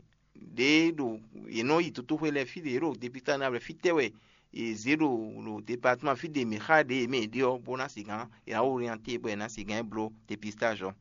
ɖě ɖo yě nɔ yi dotóxwé lɛ́ɛ fí ɖě yě ɖo dépistage ná vlɛ́ fítɛ́ wɛ yě zě ɖo ɖo department fí ɖě mǐ xa ɖě yě mɛ yě ɖe ɔ́, bó ná sígán yě ná orienté bɔ yě ná sígán yi bló dépistage ɔ́.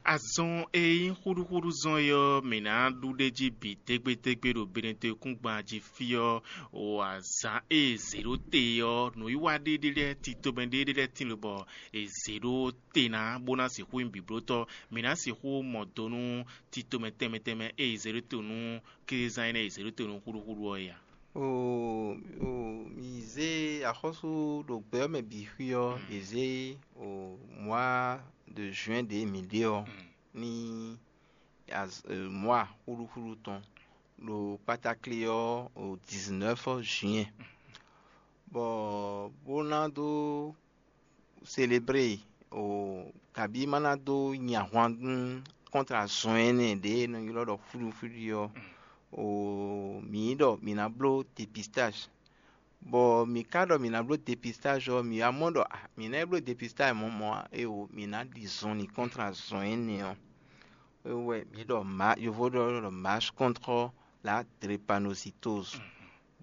Azɔn e nyí xúɖúxúɖú zɔn é ɔ́, mǐ ná ɖu ɖ'é jí bǐ dégbédégbé ɖo Benɛtɔ́kúngban jí fí ɔ́, o azǎn e è zě ɖó te ɔ́, nǔwiwa ɖé ɖé lɛ́ɛ tito mɛ ɖé ɖé lɛ́ɛ tín lobɔ è zě ɖó te ná bó ná sixú nyí bǐblótɔ́. Mǐ ná sixú mɔ do nú tito mɛ tɛnmɛ tɛnmɛ e è zě ɖó te nú kézán énɛ́ e è zě ɖó te nú xúɖúxúɖú ɔ́ é a? O, o, mǐ zé axɔ́sú ɖo gbɛ ɔ́ mɛ bǐ xwí ɔ́, è zé o mois de juin ɖě mǐ ɖe ɔ́ ní az- e, mois xúɖúxúɖú tɔn ɖo kpátáklé ɔ́ o dix-neuf juin, bɔ bó ná dó célébrer o kabí má ná dó nyi ahwan nú kɔ́ntra zɔn énɛ́ ɖě e nɔ ylɔ́ ɖɔ xúɖúxúɖú ɔ́, o mǐ ɖɔ mǐ ná bló dépistage. Bɔ mǐ ka ɖɔ mǐ ná bló dépistage ɔ́, mǐ wá mɔ ɖɔ ah, mǐ ná yi bló dépistage mɔ̌ mɔ̌ ǎ, éeǒ, mǐ ná ɖi zɔnlin kɔ́ntra zɔn énɛ́ ɔ́. É wɛ mǐ ɖɔ ma yovo ɖɔ ɖɔ marche contre la drépanocytose.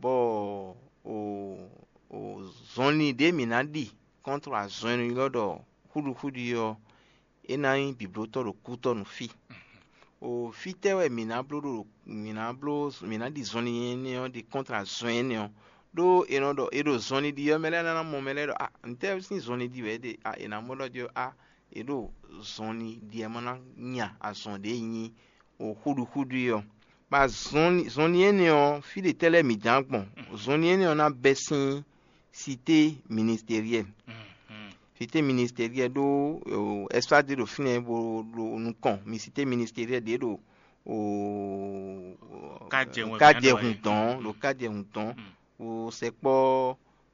Bɔ o o zɔnlin ɖě mǐ ná ɖi kɔ́ntra zɔn e nɔ ylɔ́ ɖɔ xúɖuxúɖu ɔ́, é ná nyí bǐblótɔ́ ɖo kútɔ́ nú fí. O fítɛ́ wɛ mǐ ná bló ɖo mǐ ná bló mǐ ná ɖi zɔnlin énɛ́ ɔ́ ɖi kɔ́ntra zɔn énɛ́ ɔ́? Ɖó è nɔ ɖɔ è ɖo zɔnlin ɖi ɔ́, mɛ lɛ́ɛ ná mɔ mɛ lɛ́ɛ ɖɔ a ntɛ́ sín zɔnlin ɖi wɛ é ɖe a è nǎ mɔ ɖɔ jí ɔ́ a è ɖo zɔnlin ɖi ɛ ma ná nya azɔn ɖě nyí o xúɖuxúɖu é ɔ́. Bɔ azɔnlin zɔnlin énɛ́ ɔ́, fí ɖě tɛ́ lɛ́ɛ mǐ dán gbɔn? Zɔnlin énɛ́ ɔ́ ná bɛ́ sín cité ministérielle. Cité ministérielle ɖó ɛsfá ɖé ɖo fínɛ́ bó ɖo nukɔn mi cité ministérielle ɖě ɖo o Kajɛhun kajɛhun dɔn ɖo kajɛhun dɔn o sɛkpɔ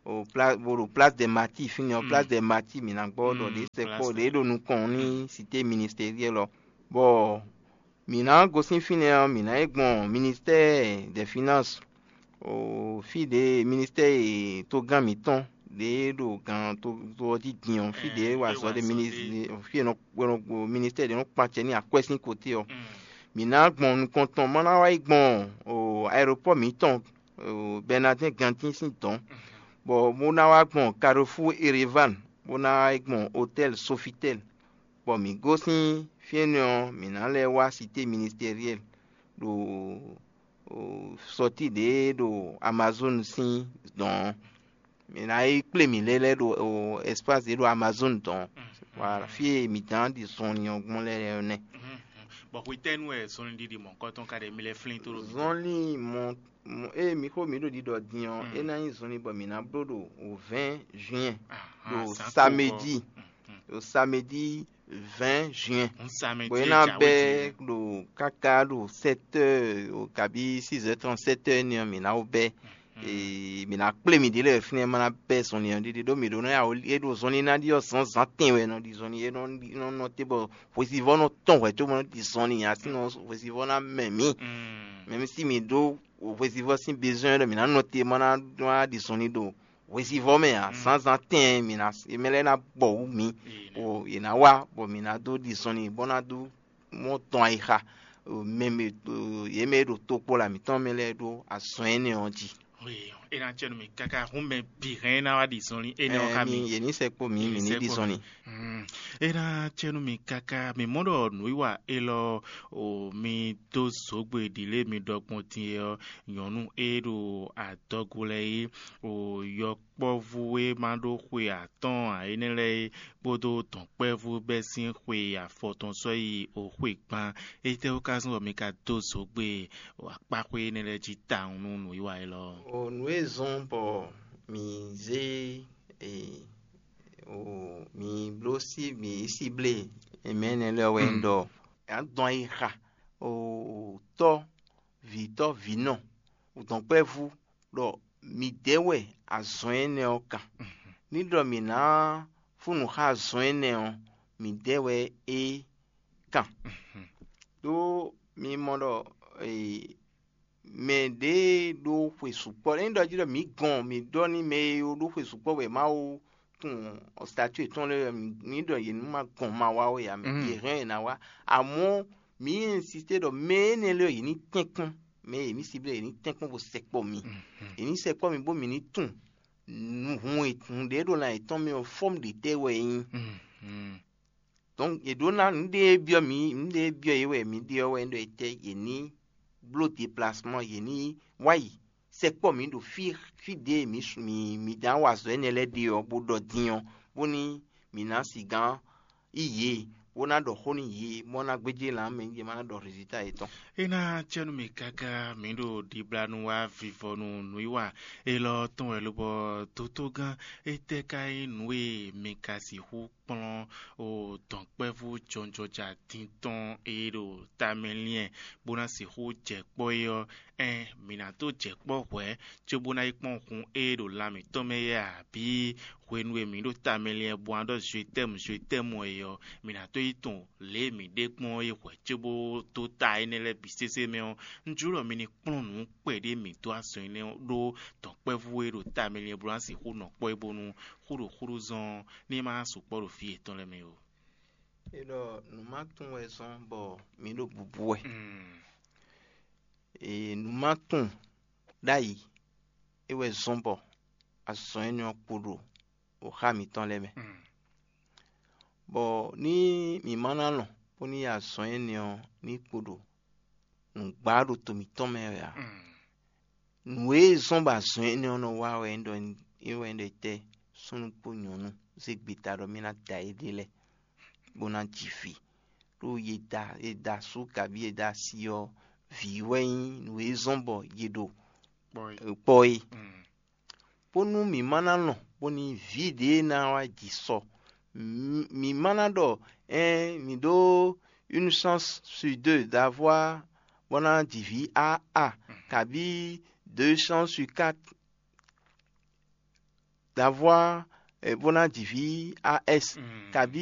o pla bo ɖo place des martyrs fínɛ́ ɔ place des martyrs mǐ ná gbɔ ɖɔ ɖě sɛkpɔ ɖě ɖo nukɔn ní cité ministérielle ɔ bɔ mǐ ná gosín fínɛ́ ɔ́ mǐ ná yi gbɔn ministère des finances o fí ɖě ministère e togán mǐtɔn ɖě ɖo gan to to ɔ́ jí din ɔ́, fí ɖě wa azɔ̌ ɖe, fí e nɔ ministɛ́ɛ ɖě nɔ kpan acɛ n'i akwɛ́ sín koté ɔ́, mǐ ná gbɔn nukɔn tɔn, má ná wá yi gbɔn aeropɔ́ɔ mǐtɔn Bɛnadɛ́n Gantín sín dɔ̌n, bɔ bó ná wá gbɔn Carrefour Erevan, bó ná wá yi gbɔn Hotɛ́l Sofitɛ́l, bɔ mǐ gosín fí énɛ́ ɔ́, mǐ ná lɛ́ wá Sité Ministɛriɛ́l ɖo sɔtí ɖě ɖo Amazon sín dɔ̌n ɔ́. Mǐ ná yi kplé mǐ lɛ́ lɛ́ ɖo ɛspási ɖě ɖo Amazon dɔ̌n ɔ́. Fí e mǐ dán ɖi zɔnlin ɔ́ gbɔn lɛ́ɛ ɔ́ nɛ́. Bɔ hwetɛ́nu wɛ zɔnlin ɖiɖi mɔ̌hunkɔtɔn ka ɖe mi lɛ́ flín tó ɖo mi? Zɔnlin mɔ mɔ ée mi xó mǐ ɖo ɖiɖɔ din ɔ́, é ná nyí zɔnlin bɔ mǐ ná bló ɖo vɛ̌ɛn juin ɖo samedi, ɖo samedi vɛ̌ɛn juin, bɔ é ná bɛ́ ɖo káká ɖo sɛ́tɛ́ kabí six heures trente-sept heures énɛ́ ɔ́, mǐ ná wó bɛ́. Ee, mǐ ná kplé mǐ ɖě lɛ́ɛ fínɛ́, ma ná bɛ́ zɔnlin ɔ́ ɖiɖi ɖó mǐ ɖó ná ya é ɖo zɔnlin ná ɖi ɔ́ zǎnzǎn tɛnwɛ nɔ ɖi zɔnlin é nɔ nɔ te bɔ hwesivɔ́ nɔ tɔn hwɛ̌ cóbɔ nɔ ɖi zɔnlin ǎ, sín hwesivɔ́ ná mɛ mǐ. Mɛmísí mǐ ɖó hwesivɔ́ sín bezɔ́n ɖɔ mǐ ná nɔ te ma ná ɖi zɔnlin ɖo hwesivɔ́ mɛ ǎ, zǎnzǎn tɛnwɛ mǐ ná mɛ lɛ́ɛ ná bɔ wǔ mǐ, bɔ yě ná wá bɔ mǐ ná dó ɖi zɔnlin bó ná dó mɔ tɔn ayixa mɛ yě mɛ e ɖo tokpɔ́la mǐtɔn mɛ lɛ́ɛ ɖó azɔn énɛ́ ɔ́ jí. É ná cɛ nú mì káká hún mɛ bǐ hɛn é ná wá ɖi zɔnlin énɛ́ ɔ́ xá mi. Yě ní sɛkpó mǐ, mǐ ní ɖi zɔnlin. É ná cɛ nú mì káká mǐ mɔ ɖɔ nǔwiwa élɔ́ o mi dó zǒgbe ɖi lě mi ɖɔ gbɔn din é ɔ́, nyɔ̌nu e ɖo adɔgo lɛ́ɛ é o yɔkpɔ́vú e ma ɖó xwe atɔ́ɔ́n ǎ énɛ́ lɛ́ɛ é kpódó dɔ̌nkpɛvú bɛ́ sín xwe afɔtɔn sɔ́ yi o xwe gban. Étɛ́wú ka zɔ́n bɔ mi ka dó zǒgbe akpáxwé énɛ́ lɛ́ɛ jí tawun nú nǔwiwa élɔ́? O nǔ e zɔ́n bɔ mǐ zé e, o mǐ bló sí mǐ yi síblé mɛ énɛ́ lɛ́ɛ wɛ nyí ɖɔ yě ná dɔn ayixa o tɔ́, vǐtɔ́, vǐnɔ, dɔ̌nkpɛvú ɖɔ midɛɛ wɛ azɔn énɛ́ ɔ́ kan. Ní ɖɔ mǐ ná fún nǔ xá azɔn énɛ́ ɔ́, midɛɛ wɛ é kan. Ɖó mi mɔ ɖɔ mɛ ɖě e ɖó xwe sukpɔ́, ényí ɖɔ jí ɖɔ mǐ gɔn mǐ ɖɔ nú mɛ e ɖó xwe sukpɔ́ wɛ Mawu tunwun statue yětɔn lɛ́ɛ, mǐ ɖɔ yě ní ma gɔn ma wá ó yě ǎ, yě hɛn yě ná wá. Amɔ̌ mǐ insisté ɖɔ mɛ énɛ́ lɛ́ɛ yě ní tɛ́nkpɔ́n, mɛ e mǐ siblé yě ní tɛ́nkpɔ́n bó sɛkpɔ́ mi. Yě ní sɛkpɔ́ mi bó mǐ ní tunwun hun e hun ɖě ɖo lan yětɔn mɛ ɔ́, fɔ́mú ɖě tɛ́ wɛ é nyí. Donc yě ɖó ná nǔɖé e byɔ́ mǐ nǔɖé e byɔ́ yě wɛ mǐ ɖe ɔ́ wɛ ɖɔ etɛ́ yě ní bló déplacement, yě ní wá yi sɛkpɔ́ mǐ ɖo fí fí ɖě mǐ su mǐ mǐ dán wa azɔ̌ énɛ́ lɛ́ɛ ɖe ɔ́, bó ɖɔ din ɔ́, bónú mǐ ná sigán yi yě, bó ná ɖɔ xó nú yě, bó ná gbéjé lan mɛ yě má ná ɖɔ résultat yětɔn. É ná cɛ nú mì káká mǐ ɖo ɖiblanu wá vivɔnu nǔwiwa élɔ́ tɔn wɛ lobɔ dotogán étɛ́ ka nyí nǔ e mi ka sixú kplɔ́n o dɔ̌nkpɛvú jɔnjɔja din tɔn e ɖo tamɛ liɛn bó ná sixú jɛ kpɔ́ é ɔ́, ɛn mǐ ná dó jɛ kpɔ́ hwɛ̌ cóbó ná yi kpɔ́n hun e ɖo lan mǐtɔn mɛ é abǐ hwenu e mǐ ɖo tamɛ liɛn bó ná ɖɔ zwetɛ́mu zwetɛ́mu é ɔ́, mǐ ná dó yi tunwun lě e mǐ ɖe gbɔn é hwɛ̌ cóbó dó ta énɛ́ lɛ́ɛ bǐ sésé mɛ ɔ́, un jló ɖɔ mi ní kplɔ́n nǔ kpɛɖé mǐ dó azɔn énɛ́ ɔ́ ɖó dɔ̌nkpɛvú e ɖo tamɛ liɛn bó ná sixú nɔ kpɔ́ é bónú xúɖoxúɖó zɔn ní ma sukpɔ́ ɖo fí yětɔn lɛ́ɛ mɛ ó. É ɖɔ nǔ ma tunwun wɛ zɔ́n bɔ mǐ ɖo bubu wɛ. Ee, nǔ ma tunwun ɖ'ayǐ é wɛ zɔ́n bɔ azɔn énɛ́ ɔ́ kpo ɖo xá mǐtɔn lɛ́ɛ mɛ. Bɔ ní mǐ ma ná lɔn bó ní yi azɔn énɛ́ ɔ́ ní kpo ɖo nǔgbá ɖo to mǐtɔn mɛ wɛ ǎ. Nǔ e zɔ́n bɔ azɔn énɛ́ ɔ́ nɔ wa wɛ é ɖɔ é wɛ é ɖɔ tɛ́ súnnu kpó nyɔ̌nu zé gbeta ɖɔ mì ná da éɖée lɛ́ɛ bó ná ji vǐ. Ɖó ye da ye da asú kabí ye da asi ɔ́, vǐ wɛ nyí nǔ e zɔ́n bɔ ye ɖo kpɔ́ é. Bónú mǐ ma ná lɔn bónú vǐ ɖě ná wá ji sɔ. Mǐ ma ná ɖɔ ɛn mǐ ɖó une chance sur deux d'avoir bó ná ji vǐ a a kabí deux chances sur quatre d'avoir bó ná ji vǐ a s kabí